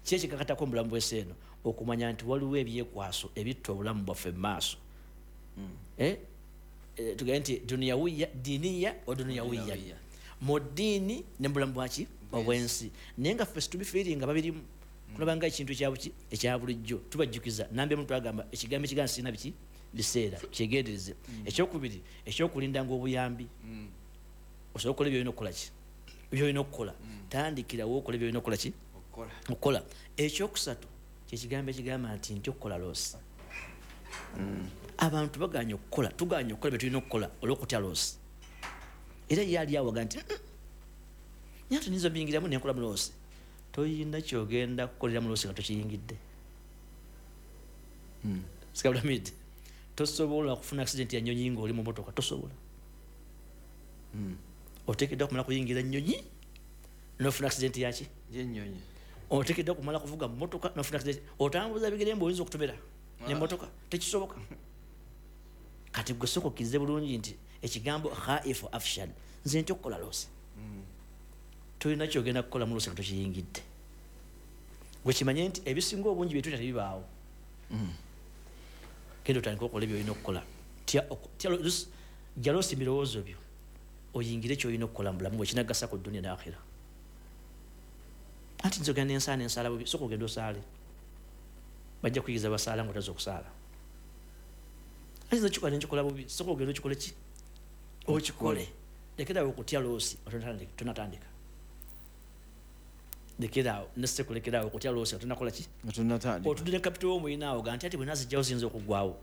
Ki ekikakatako mu bulamu bw'ensi eno? Okumanya nti waliwo ebyekwaso ebitta obulamu bwaffe mu maaso. Tugende nti duniyawiya, diniya wa duniyawiya, mu ddiini ne mu bulamu bwaki obw'ensi. Naye nga ffe situbifiiringa babirimu, kulaba nga ekintu ekyabuki ekya bulijjo. Tubajjukiza nambi omuntu agamba ekigambo ekigamba sirina biki biseera, kyegendereze. Ekyokubiri, ekyokulindanga obuyambi. Osobola okukola byolina okukola ki? Byolina okukola. Tandikirawo okola byolina okukola ki? Okukola. Ekyokusatu kyekigambo ekigamba nti ntya okukola loosi. Abantu baganye okukola, tuganye okukola bye tulina okukola olw'okutya loosi. Era ye ali awaga nti nyanti niyinza obiyingiramu nenkola mu loosi. Toyina kyogenda kukolera mu loosi nga tokiyingidde. Sikabulamid, tosobola kufuna accident ya nnyonyi ng'oli mu motoka, tosobola. Oteekeddwa kumala kuyingira nnyonyi n'ofuna accident yaki? Y'ennyonyi. Oteekeddwa kumala kuvuga mmotoka n'ofuna accident. Otambuza bigere mbu oyinza okutomera n'emmotoka, tekisoboka. Kati gwe sooka okkirize bulungi nti ekigambo khaifu afshal, nze ntya okukola loosi. Tolina kyogenda kukola mu loosi nga tokiyingidde. Gwe kimanye nti ebisinga obungi bye tutya tebibaawo. Genda otandike okukola byolina okukola. Jja loosi birowoozo byo, oyingire kyolina okukola mu bulamu bwe kinagasa ku duniya n'akhira. Anti nze ogenda nensaala nensaala bubi, sooka ogenda osaale. Bajja kuyigiza basaala ng'otaza okusaala. Anti nze kikola nenkikola bubi, sooka ogenda okikole ki? Okikole. Lekerawo okutya loosi tonatandika. Lekerawo nessekulekerawo okutya loosi nga tonakola ki? Otudde ne kapito w'omulina awo ga nti ati bwe nazijjawo ziyinza okuggwawo.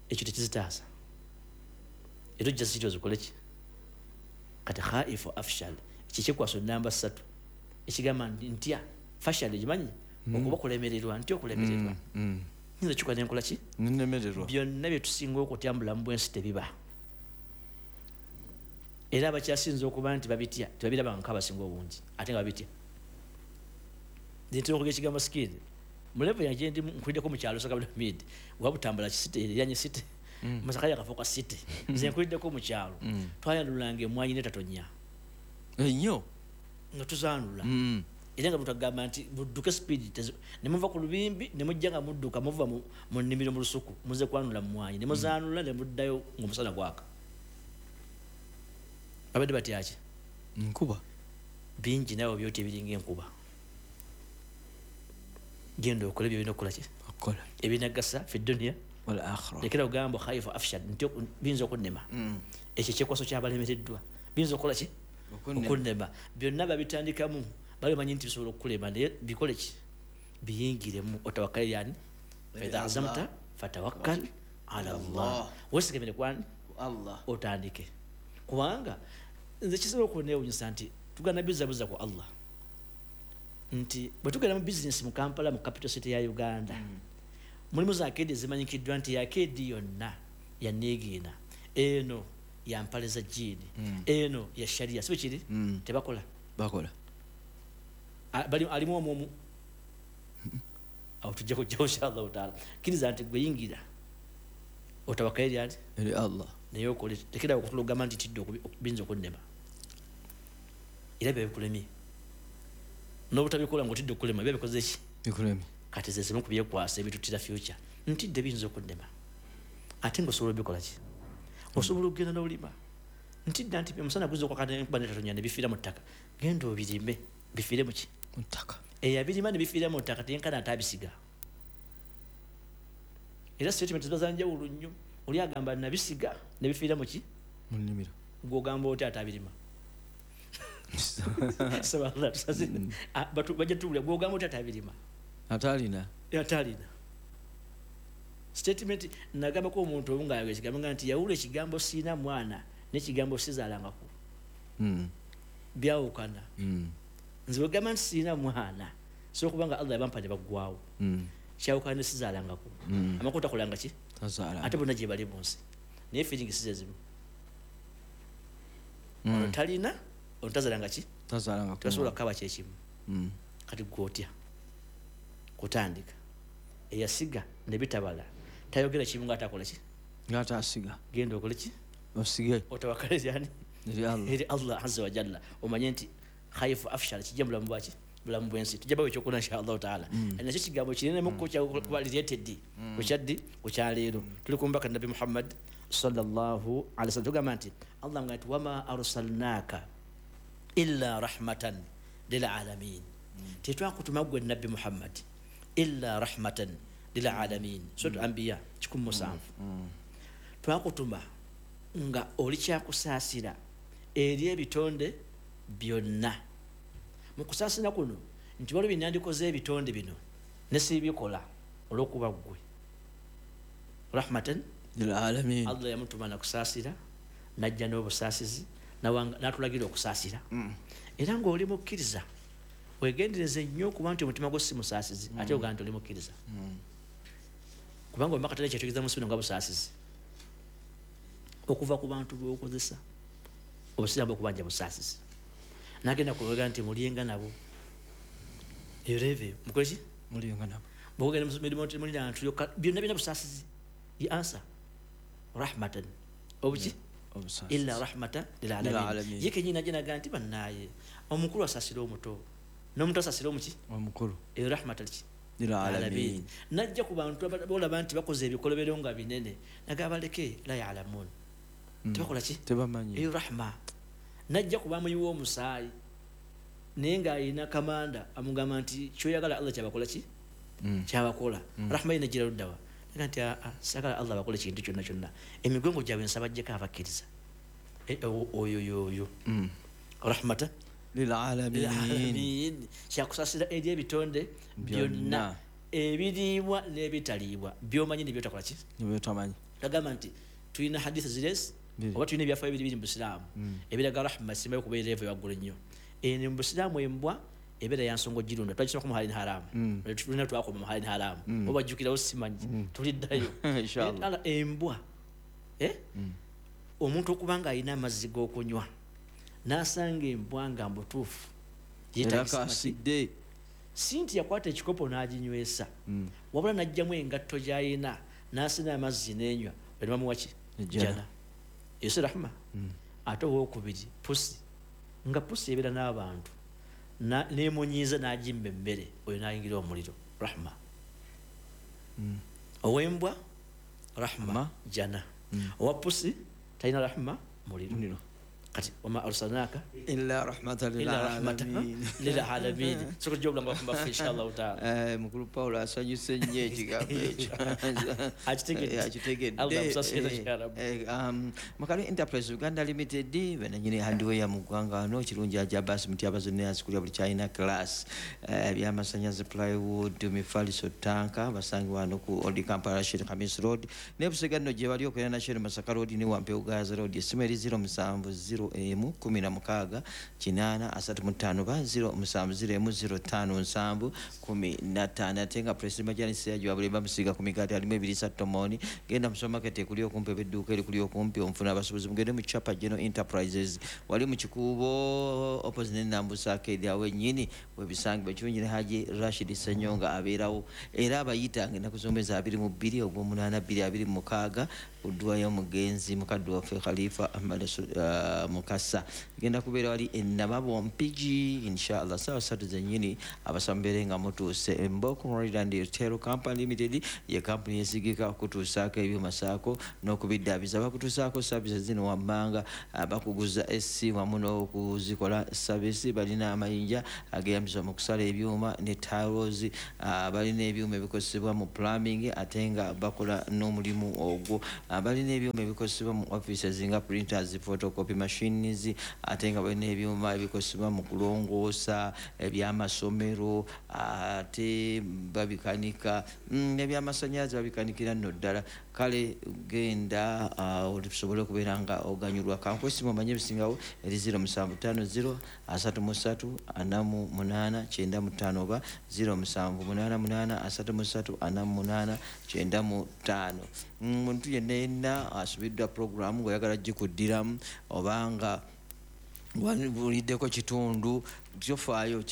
Ekyo tekizitaasa. Era ojja zitya ozikole ki? Kati khaifu afshal, kikikwaso namba 3 ekigamba ntya fashal egimanyi okuba kulemererwa, ntya okulemererwa. Nyinza kikola nenkola ki? Nnemererwa. Byonna bye tusinga okutya mu bulamu bw'ensi tebiba. Era abakyasinze okuba nti babitya tebabiraba nk'abasinga obungi, ate nga babitya. Nze ntera okwogera ekigambo skill. Mu level yange gye ndi nkuliddeko mu kyalo Sakabulamid, wabutambala city, eriranye city. Masaka yakafuuka city. Nze nkuliddeko mu kyalo. Twayanulanga emmwanyi n'etatonya. Ennyo. Nga tuzaanula. Era nga butagamba nti budduke speed, ne muva ku lubimbi ne mujja nga mudduka muva mu nnimiro mu lusuku muze kwanula mmwanyi ne muzaanula ne muddayo ng'omusana gwaka. Babadde batya ki? Nkuba. Bingi naawe byoti ebiringa enkuba. Genda okole byolina okukola ki? Okukola. Ebinagasa fi dunya wal akhirah. Lekera ogamba khaifu afshal nti biyinza okunnema. Ekyo ekyekwaso kyabalemereddwa biyinza okukola ki? Okunnema. Byonna babitandikamu bali bamanyi nti bisobola okukulema, naye bikole ki? Biyingiremu. Otawakkale yani fa idha azamta fatawakkal ala Allah. Weesigamire kwani? Allah. Otandike. Kubanga nze kisobola okunneewuunyisa nti tugenda bizabuza ku Allah. Nti bwe tugenda mu bizinesi mu Kampala, mu capital city ya Uganda, mulimu za arcade ezimanyikiddwa nti arcade yonna ya Niigiina, eno ya mpale za jjiini, eno ya sharia, si bwe kiri? Tebakola. Bakola. Alimu omu omu. Awo tujja kujjawo inshallah taala. Kkiriza nti gwe yingira otawakale eri ani? Eri Allah. Naye okole, tekera okutula ogamba nti tidde biyinza okunnema. Era bye bikulemye. N'obutabikola ng'otidde okulema biba bikoze ki? Bikulema. Kati ze zimu ku byekwasa ebituttira future. Ntidde biyinza okunnema. Ate ng'osobola obikola ki? Osobola okugenda n'olima. Ntidde nti omusana guzza okwaka n'enkuba n'etatonya ne bifiira mu ttaka. Genda obirime bifiire mu ki? Mu ttaka. Eyabirima ne bifiira mu ttaka teyenkana ate abisiga. Era statement ziba za njawulo nnyo. Oli agamba nabisiga ne bifiira mu ki? Mu nnimiro. Gw'ogamba otya ate abirima? Bajja tuwulira gw'ogamba otya ate abirima? Atalina. Atalina. Statement nagambako omuntu omu ng'ayogera ekigambo nga nti yawula ekigambo siina mwana n'ekigambo sizaalangako. Byawukana. Nze bwe gamba nti siina mwana so kubanga Allah yabampa ne baggwawo. Kyawukana ne sizaalangako. Amakulu takolanga ki? Ate bonna gye bali mu nsi. Naye feeling si ze zimu. Ono talina, ono tazaalanga ki? Tazaalangako. Tebasobola kukaba kye kimu. Kati ggwe otya? Kutandika. Eyasiga ne bitabala. Tayogera kimu ng'atakola ki? Ng'atasiga. Genda okole ki? Osige. Otawakale yani? Eri Allah. Eri Allah azza wa jalla. Omanye nti khaifu afshal kijja mulamu bwaki? Bulamu bw'ensi. Tujja bawe ekyokuna insha Allahu taala. Nakyo kigambo kinene mukko kya kuba related. Kukyaddi kukyaleero. Tuli ku mbaka Nabbi Muhammad sallallahu alaihi wasallam. Tugamba nti Allah nga nti wama arsalnaka illa rahmatan lil alamin. Tetwakutuma ggwe Nabbi Muhammad illa rahmatan lil alamin. Sura Anbiya 107. Twakutuma nga oli kyakusaasira eri ebitonde byonna. Mu kusaasira kuno nti waliwo bye ebitonde bino ne sibikola olw'okuba ggwe. Rahmatan lil alamin. Allah yamutuma nakusaasira n'ajja n'obusaasizi n'atulagira okusaasira. Era ng'oli mukkiriza weegendereze nnyo okuba nti omutima gwo si musaasizi ate ogamba nti oli mukkiriza. Kubanga omubaka tali kyetegeeza mu nsi bino nga busaasizi. Okuva ku bantu b'okozesa obusiraamu okubanja busaasizi. Nagenda kubaga nti mulyenga nabo. Eyo leve mukole ki? Mulyenga nabo. Bw'ogenda mu mirimu nti mulina ntu yokka byonna byonna busaasizi. Ye answer rahmatan. Obuki? Obusaasizi. Illa rahmatan lil alamin. Ye kennyini ajja n'agamba nti bannaaye omukulu asaasira omuto n'omuto asaasira omuki? Omukulu. Eyo rahmatan ki? Lil alamin. Najja ku bantu bolaba nti bakoze ebikolobero nga binene nagamba baleke la ya'lamun. Tebakola ki? Tebamanyi. Eyo rahma. Najja kuba muyiwa omusaayi naye ng'alina kamanda amugamba nti kyoyagala Allah kyabakola ki? Kyabakola. Rahma ye negira luddawa. Naga nti saagala Allah abakole kintu kyonna kyonna. Emigongo gyabwe nsaba aggyeko abakkiriza. Oyo yoyo. Rahmatan lil alamin. Kyakusaasira eri ebitonde byonna ebiriibwa n'ebitaliibwa by'omanyi ne by'otakola ki? Ne by'otamanyi. Tagamba nti tulina hadith ziresi oba tulina ebyafaayo biri biri mu busiraamu ebiraga rahma simbayo kuba erevu ewaggulu ennyo. Eno mu busiraamu embwa ebeera ya nsonga ogirunda. Twagisomako mu halin haramu. Tulina twakoma mu halin haramu. Oba bajjukirawo simanyi tuliddayo. Inshallah. Embwa omuntu okuba ng'alina amazzi g'okunywa n'asanga embwa nga mbutuufu yeetagisa si nti yakwata ekikopo n'aginywesa wabula n'aggyamu engatto gy'alina n'asena amazzi n'enywa ne bamuwa ki? Jjana. Eyo si rahma. Ate owookubiri pusi nga pusi ebeera n'abantu n'emunyiiza n'agimba emmere oyo n'ayingira omuliro rahma. Ow'embwa rahma jjana. Owa pusi talina rahma muliro. Kati wama arsalnaka illa rahmatan lil alamin. Soko jobla ngafumba insha Allah taala. Mukulu Paulo asanyuse nnyo ekigambo ekyo. Akitegedde. Allah amusasire ya Rabbi. Makale Enterprise Uganda Limited benanyini hardware mu ggwanga wano kirungi ajja basi mutyabazo ne asikulya buli China class ebyamasannyalaze plywood mifaliso tanka basangibwa wano ku Old Kampala Rashid Khamis Road ne Busega nno gye bali okuliraana Shell Masaka Road ne Wampewo Gaza Road essimu eri 070 emu 16 8 35 ba 070 emu 05 7 15 ate nga President Majani Seyajjo abulemba musiga ku migaati alimu ebiriisa tomoni genda mu supermarket ekuli okumpi ebidduuka erikuli okumpi omufuna abasuubuzi mugende mu Chapa General Enterprises wali mu Kikuubo opposite ne Nambusa Arcade awo ennyini webisangibwa ekirungi ne Haji Rashid Ssenyonga abeerawo era abayitanga ennaku z'omwezi 22 ogw'omunaana 2026 ku ddwa y'omugenzi mukadde waffe Khalifa Ahmad Mukasa. Genda kubeera wali Enababo Mpigi inshallah sawa 3 zennyini abasambere nga mutuuse. Emboko Royal Hotel Company Limited ye kampuni yesigika okutuusaako ebyuma saako n'okubiddaabiriza. Bakutuusaako services zino wammanga, bakuguza SC wamu n'okuzikola service. Balina amayinja ageyambisibwa mu kusala ebyuma ne tiles, balina ebyuma ebikozesebwa mu plumbing ate nga bakola n'omulimu ogwo. Balina ebyuma ebikozesebwa mu offices nga printers, photocopy machines, ate nga balina ebyuma ebikozesebwa mu kulongoosa ebyamasomero, ate babikanika n'ebyamasannyalaze babikanikira nno ddala. Kale genda osobole okubeera nga oganyulwa. Kankwesimu omanye ebisingawo eri 0750 33 48 95 oba 0788 33 48 95. Muntu yenna yenna asubiddwa programu ng'oyagala gikuddiramu obanga wabuliddeko kitundu, kyofaayo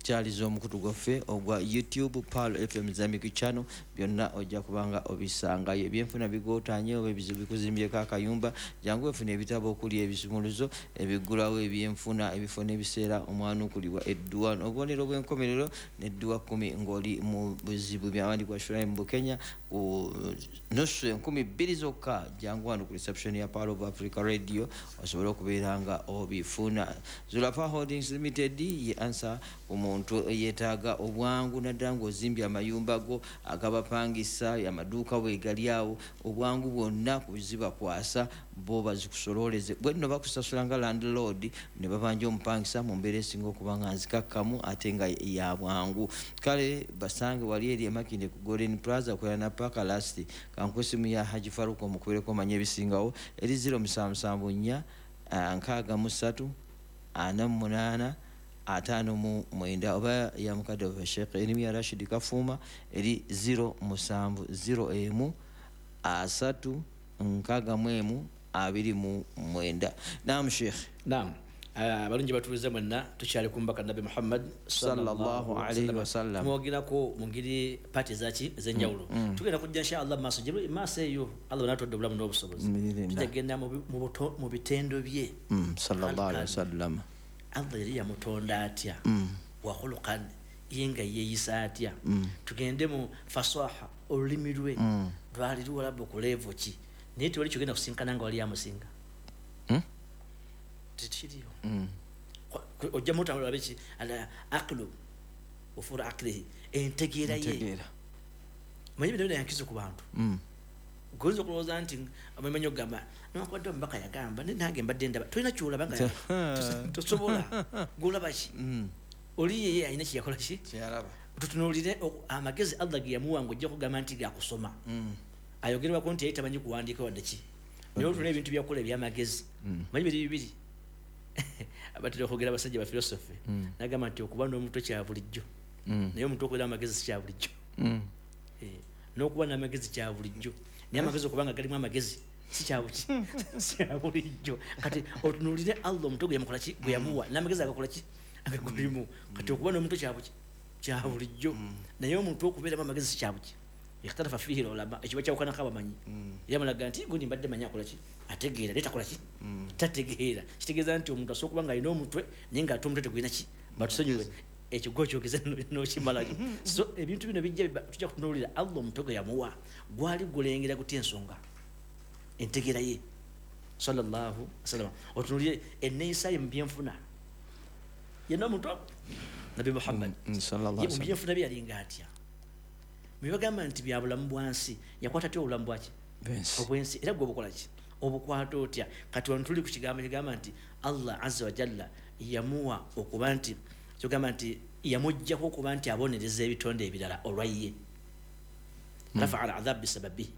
kyaliza omukutu gwaffe ogwa YouTube Pearl FM Islamic Channel, byonna ojja kubanga obisangayo. Ebyenfuna bigootanye oba ebizibu bikuzimbyeko akayumba, jangu efuna ebitabo okuli ebisumuluzo ebiggulawo ebyenfuna, ebifo n'ebiseera omwanukulibwa edduwa obubonero bw'enkomerero n'edduwa 10 ng'oli mu buzibu. Byawandikwa Shuraim Bukenya ku nusu 2000 zokka. Jangu wano ku reception ya Pearl of Africa Radio osobole okubeera nga obifuna. Zulafa Holdings Limited ye ansa omuntu yeetaaga obwangu naddala ng'ozimbye amayumba go agabapangisa, amaduuka weegali awo, obwangu bwonna kuzibakwasa bo bazikusololeze. Bwe nno bakusasula nga landlord ne babanja omupangisa mu mbeera esinga okuba nga nzikakkamu ate nga ya bwangu. Kale basange wali eri Emakinde ku Golden Plaza kwera na Paka Last. Kankwesimu ya Haji Faruku omukubereko omanye ebisingawo eri 0774 63 48 59 oba ya mukadde wa Sheikh Elimia Rashid Kafuma eri 0701 3 61 29. Naam Sheikh. Naam. Abalungi batulize mwenna tukyali ku mbaka Nabbi Muhammad sallallahu alayhi wasallam. Tumwogerako mu ngeri paati zaki ez'enjawulo. Tugenda kujja inshallah maaso gye maaso eyo Allah n'atwadde obulamu n'obusobozi. Tujja mu bitendo bye sallallahu alayhi wasallam. Allah yali yamutonda atya, wa khuluqan ye nga yeeyisa atya. Tugende mu fasaha olulimi lwe lwali luwalabu ku level ki, naye tewali kyogenda kusinkana nga wali amusinga. Tekiriyo. Ojja mutambula biki ala aqlu ufura aqlihi entegeera ye. Manyi bino yankizo ku bantu. Gozo kulowooza nti abamanyi okugamba nokwadde omubaka yagamba nange mbadde ndaba tolina kyolaba nga tosobola gwolaba ki oli yeye alina kyeyakola ki tutunuulire amagezi Allah ge yamuwa ng'ojja kugamba nti gakusoma. Ayogerwako nti yali tamanyi kuwandiika wadde ki, naye otuna ebintu byakola ebyamagezi. Manyi biri bibiri abatera okwogera abasajja ba philosophy nagamba nti okuba n'omutwe kya bulijjo, naye omuntu okubeera amagezi si kya bulijjo. N'okuba n'amagezi kya bulijjo, naye amagezi okubanga galimu amagezi si kya bulijjo. Kati otunuulire Allah omutwe gwe yamukola ki, gwe yamuwa n'amagezi agakola ki agagulimu. Kati okuba n'omutwe kya bulijjo, naye omuntu okubeeramu amagezi si kya buki. Ikhtalafa fihi ulama, ekiba kyawukanako abamanyi. Yamalaga nti gundi mbadde manyi akola ki, ategeera naye takola ki, tategeera. Kitegeeza nti omuntu asobola okuba ng'alina omutwe naye ng'ate omutwe tegulina ki, batusonyiwe ekigo kyogeze n'okimalayo. So ebintu bino bijja tujja kutunuulira Allah omutwe gwe yamuwa gwali gulengera gutya ensonga entegeera ye sallallahu alaihi wasallam. Otunuulire enneeyisa ye mu byenfuna yenna omuntu Nabbi Muhammad sallallahu alaihi wasallam mu byenfuna bye yalinga atya. Mubagamba nti bya bulamu bwansi yakwata atya obulamu bwaki obwensi, era gwe obukola ki obukwata otya. Kati wano tuli ku kigambo kigamba nti Allah azza wa jalla yamuwa okuba nti kyogamba nti yamuggyako okuba nti abonereza ebitonde ebirala olwa ye. Rafa'a al-adhab bisababihi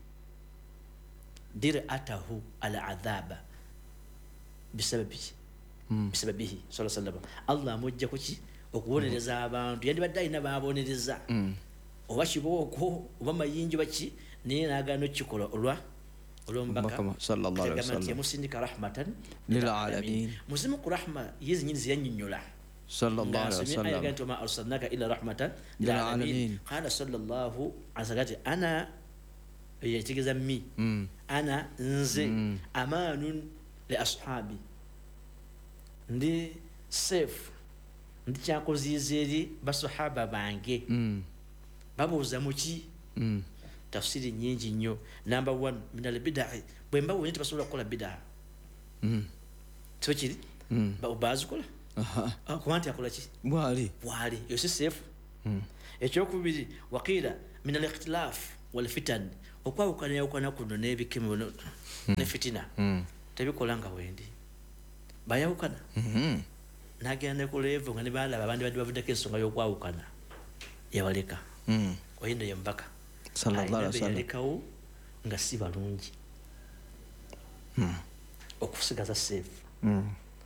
dir'atahu al-adhaba bisababihi bisababihi sallallahu alaihi wasallam. Allah amuggyako ki okubonereza abantu, yandibadde alina baabonereza oba kibooko oba mayinja baki, naye n'agaana okukikola olwa olw'omubaka sallallahu alaihi wasallam. Yamusindika rahmatan lil alamin. Muzimu ku rahma ye zennyini zeyannyonnyola sallallahu alaihi wasallam. Nti wama arsalnaka illa rahmatan lil alamin. Qala sallallahu alaihi wasallam ana yategeeza mi ana nze amaanun li ashabi Ndi safe, ndi kyakoziyiza eri basahaba bange. Babuuza muki? Tafsiri nyingi nnyo. Number 1, min albidai, bwe mbabuuza nti basobola kukola bidaa. Kiba kiri bazikola kuba nti akola ki bwali bwali, eyo si safe. Ekyokubiri, waqiila min al ikhtilaf wal fitan, okwawukanayawukana kuno n'ebikemo ne fitina tebikola nga wendi bayawukana. Nagenda ne ku level nga ne balaba abandi badde bavuddeko ensonga y'okwawukana, yabaleka. Oyo nno ye mubaka sallallahu alaihi wasallam, yalekawo nga si balungi okusigaza safe,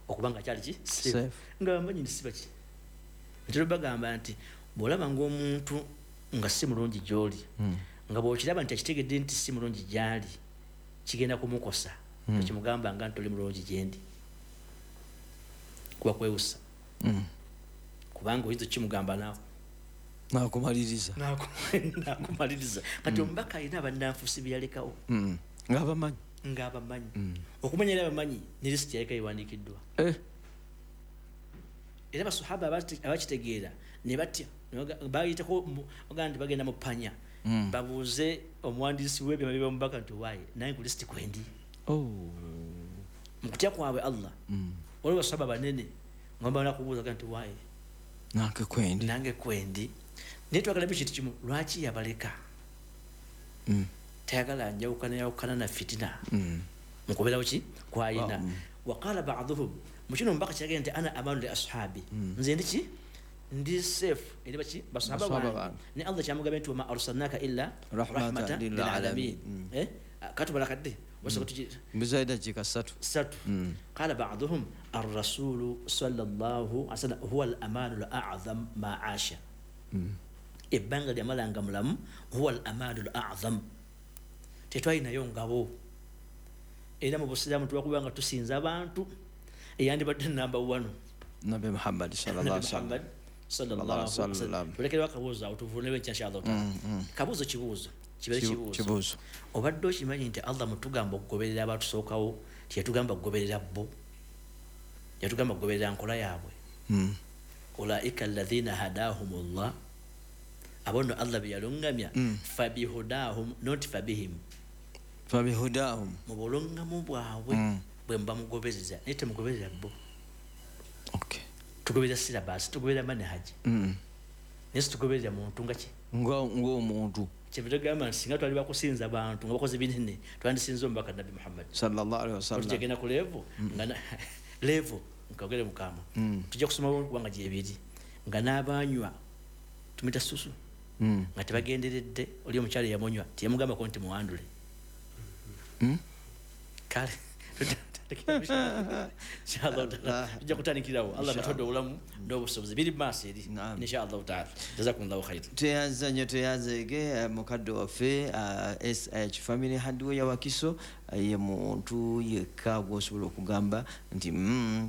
okuba nga kyali ki safe, nga bamanyi nti si baki. Ntera bagamba nti bw'olaba ng'omuntu nga si mulungi gy'oli, nga bw'okiraba nti akitegedde nti si mulungi gy'ali, kigenda kumukosa, tekimugamba nga nti oli mulungi gyendi, kuba kwewusa. Kubanga oyinza okukimugamba naawe nakumaliriza nakumaliriza. Kati omubaka alina abannanfuusi bye yalekawo ng'abamanyi, ng'abamanyi okumanya era abamanyi ne lisiti yaleka ewandiikiddwa. Era basahaba abakitegeera ne batya, bayitako bagamba nti bagenda mu panya, babuuze omuwandiisi w'ebyama by'omubaka nti waaye nange ku lisiti kwendi. Mu kutya kwabwe Allah, waliwo basahaba banene nga bamala kubuuza nti waaye nange kwendi, nange kwendi. Naye twagalamu ekintu kimu, lwaki yabaleka? Tayagala njawukana yawukana na fitina mukubeerawo ki kwayina. Waqala ba'duhum, mu kino omubaka kyagenda nti ana amanu li ashabi, nze ndi ki ndi safe eri baki basahaba bange. Ne Allah kyamugambye nti wama arsalnaka illa rahmatan lil alamin. Katubala kadde mbizayo dakiika ssatu. Qala ba'duhum ar-rasulu sallallahu alaihi wasallam huwa al-amanu al-a'zam ma asha. Ebbanga lyamalanga mulamu, huwa al-amanu al-a'zam, tetwalinayo ngabo. Era mu busiraamu tuba nga tusinza abantu, eyandibadde namba 1 Nabbi Muhammad sallallahu alaihi wasallam. Tulekerewo akabuuzo awo tuvuunewo enkya inshallah taala. Kabuuzo kibuuzo kibeere kibuuzo. Obadde okimanyi nti Allah mutugamba okugoberera abatusookawo, teyatugamba kugoberera bo, yatugamba kugoberera nkola yaabwe. Ulaika alladhina hadahumullah, abo nno Allah be yalungamya, fabihudahum not fabihim, fabihudahum, mu bulungamu bwabwe bwe muba mugobereza, naye temugoberera bo. Tugoberera syllabus, tugoberera manhaji, naye situgoberera muntu nga ki ng'omuntu. Kyebitugamba nti singa twali bakusinza abantu nga bakoze binene, twandisinze omubaka Nabbi Muhammad sallallahu alaihi wasallam. Tujagenda ku level nga level nkagere mukama, tujja kusoma kubanga gyebiri nga n'abanywa tumita susu nga tebagenderedde. Oli omukyala yamunywa teyamugambako nti muwandule. Kale inshallah tujja kutandikirawo. Allah katodde obulamu n'obusobozi biri maaso eri inshallah taala. Jazakumullahu khair. Tweyanza nnyo, tweyanzeege mukadde waffe SH Family Hardware Wakiso. Ye muntu yekka gw'osobola okugamba nti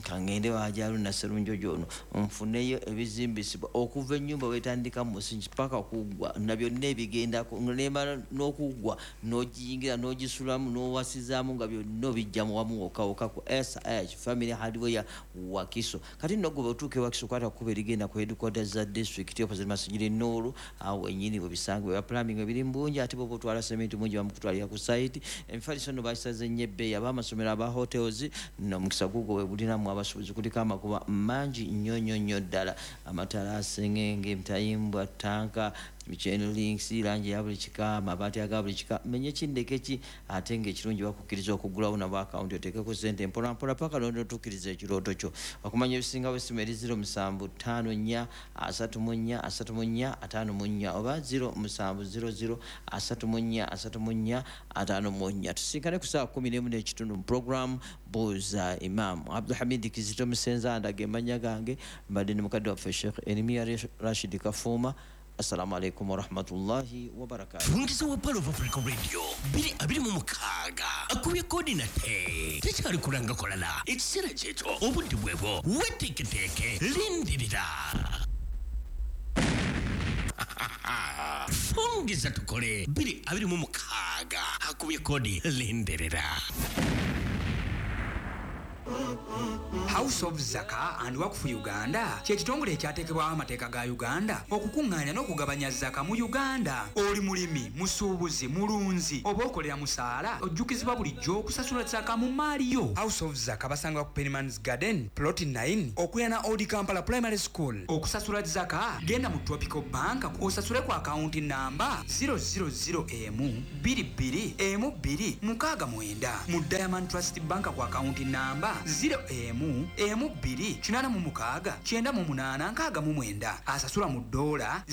kangende wajalu Nasserunjojo ono nfuneyo ebizimbisibwa okuva ennyumba wetandika mu musingi paka kuggwa, na byonna ebigendako nemala n'okuggwa n'ogiyingira n'ogisulamu n'owasizaamu nga byonna obijja mu wamu wokka wokka ku SH Family Hardware Wakiso. Kati nno gwe otuuka e Wakiso kwata kkubo erigenda ku headquarters za district opposite Masijiri Nuuru, awo ennyini we bisangibwa. Ebya plumbing ebiri mu bungi, ate bw'oba otwala sementi mungi bamukutwalira ku site. Emifaliso nno bakisaze nnyo ebbeeyi, ab'amasomero aba hotels n'omukisa gugwo we bulinamu abasuubuzi kuliko amakuba mangi nnyo nnyo nnyo ddala, amatalaasi, engenge, emitayimbwa, ttanka, chain links, langi ya buli kika, amabaati aga buli kika, menye kindeke ki, ate ng'ekirungi bakukkiriza okuggulawo nabo akawunti oteekeko ssente mpola mpola paka lw'otuukiriza ekirooto kyo. Okumanya ebisingawo essimu eri 0754 34 34 54 oba 0700 34 34 54. Tusinkane ku ssaawa 11:15 mu program Buuza Imam. Abdulhamid Kizito Musenza ndaga emmannya gange, mbadde ne mukadde waffe Sheikh Eremia Rashid Kafuuma. Assalamu alaikum warahmatullahi wabarakatuh. Fungiza wa Pearl of Africa Radio 2026 akubye kodi nate tekyali kulanga kolala ekiseera kyekyo obudde bwebwo weteeketeeke lindirira. Fungiza tukole 2026 akubye kodi lindirira. House of Zaka and Wakfu Uganda kye kitongole ekyateekebwawo amateeka ga Uganda okukuŋŋaanya n'okugabanya zaka mu Uganda. Oli mulimi, musuubuzi, mulunzi oba okolera musaala, ojjukizibwa bulijjo okusasula zaka mu maali yo. House of Zaka basangibwa ku Penimans Garden plot 9 okuliraana Old Kampala Primary School. Okusasula zaka genda mu Tropical Bank osasule ku akawunti namba 000 22 12 69, mu Diamond Trust Bank ku akawunti namba 0 1 2 86 98 69. Asasula mu ddoola.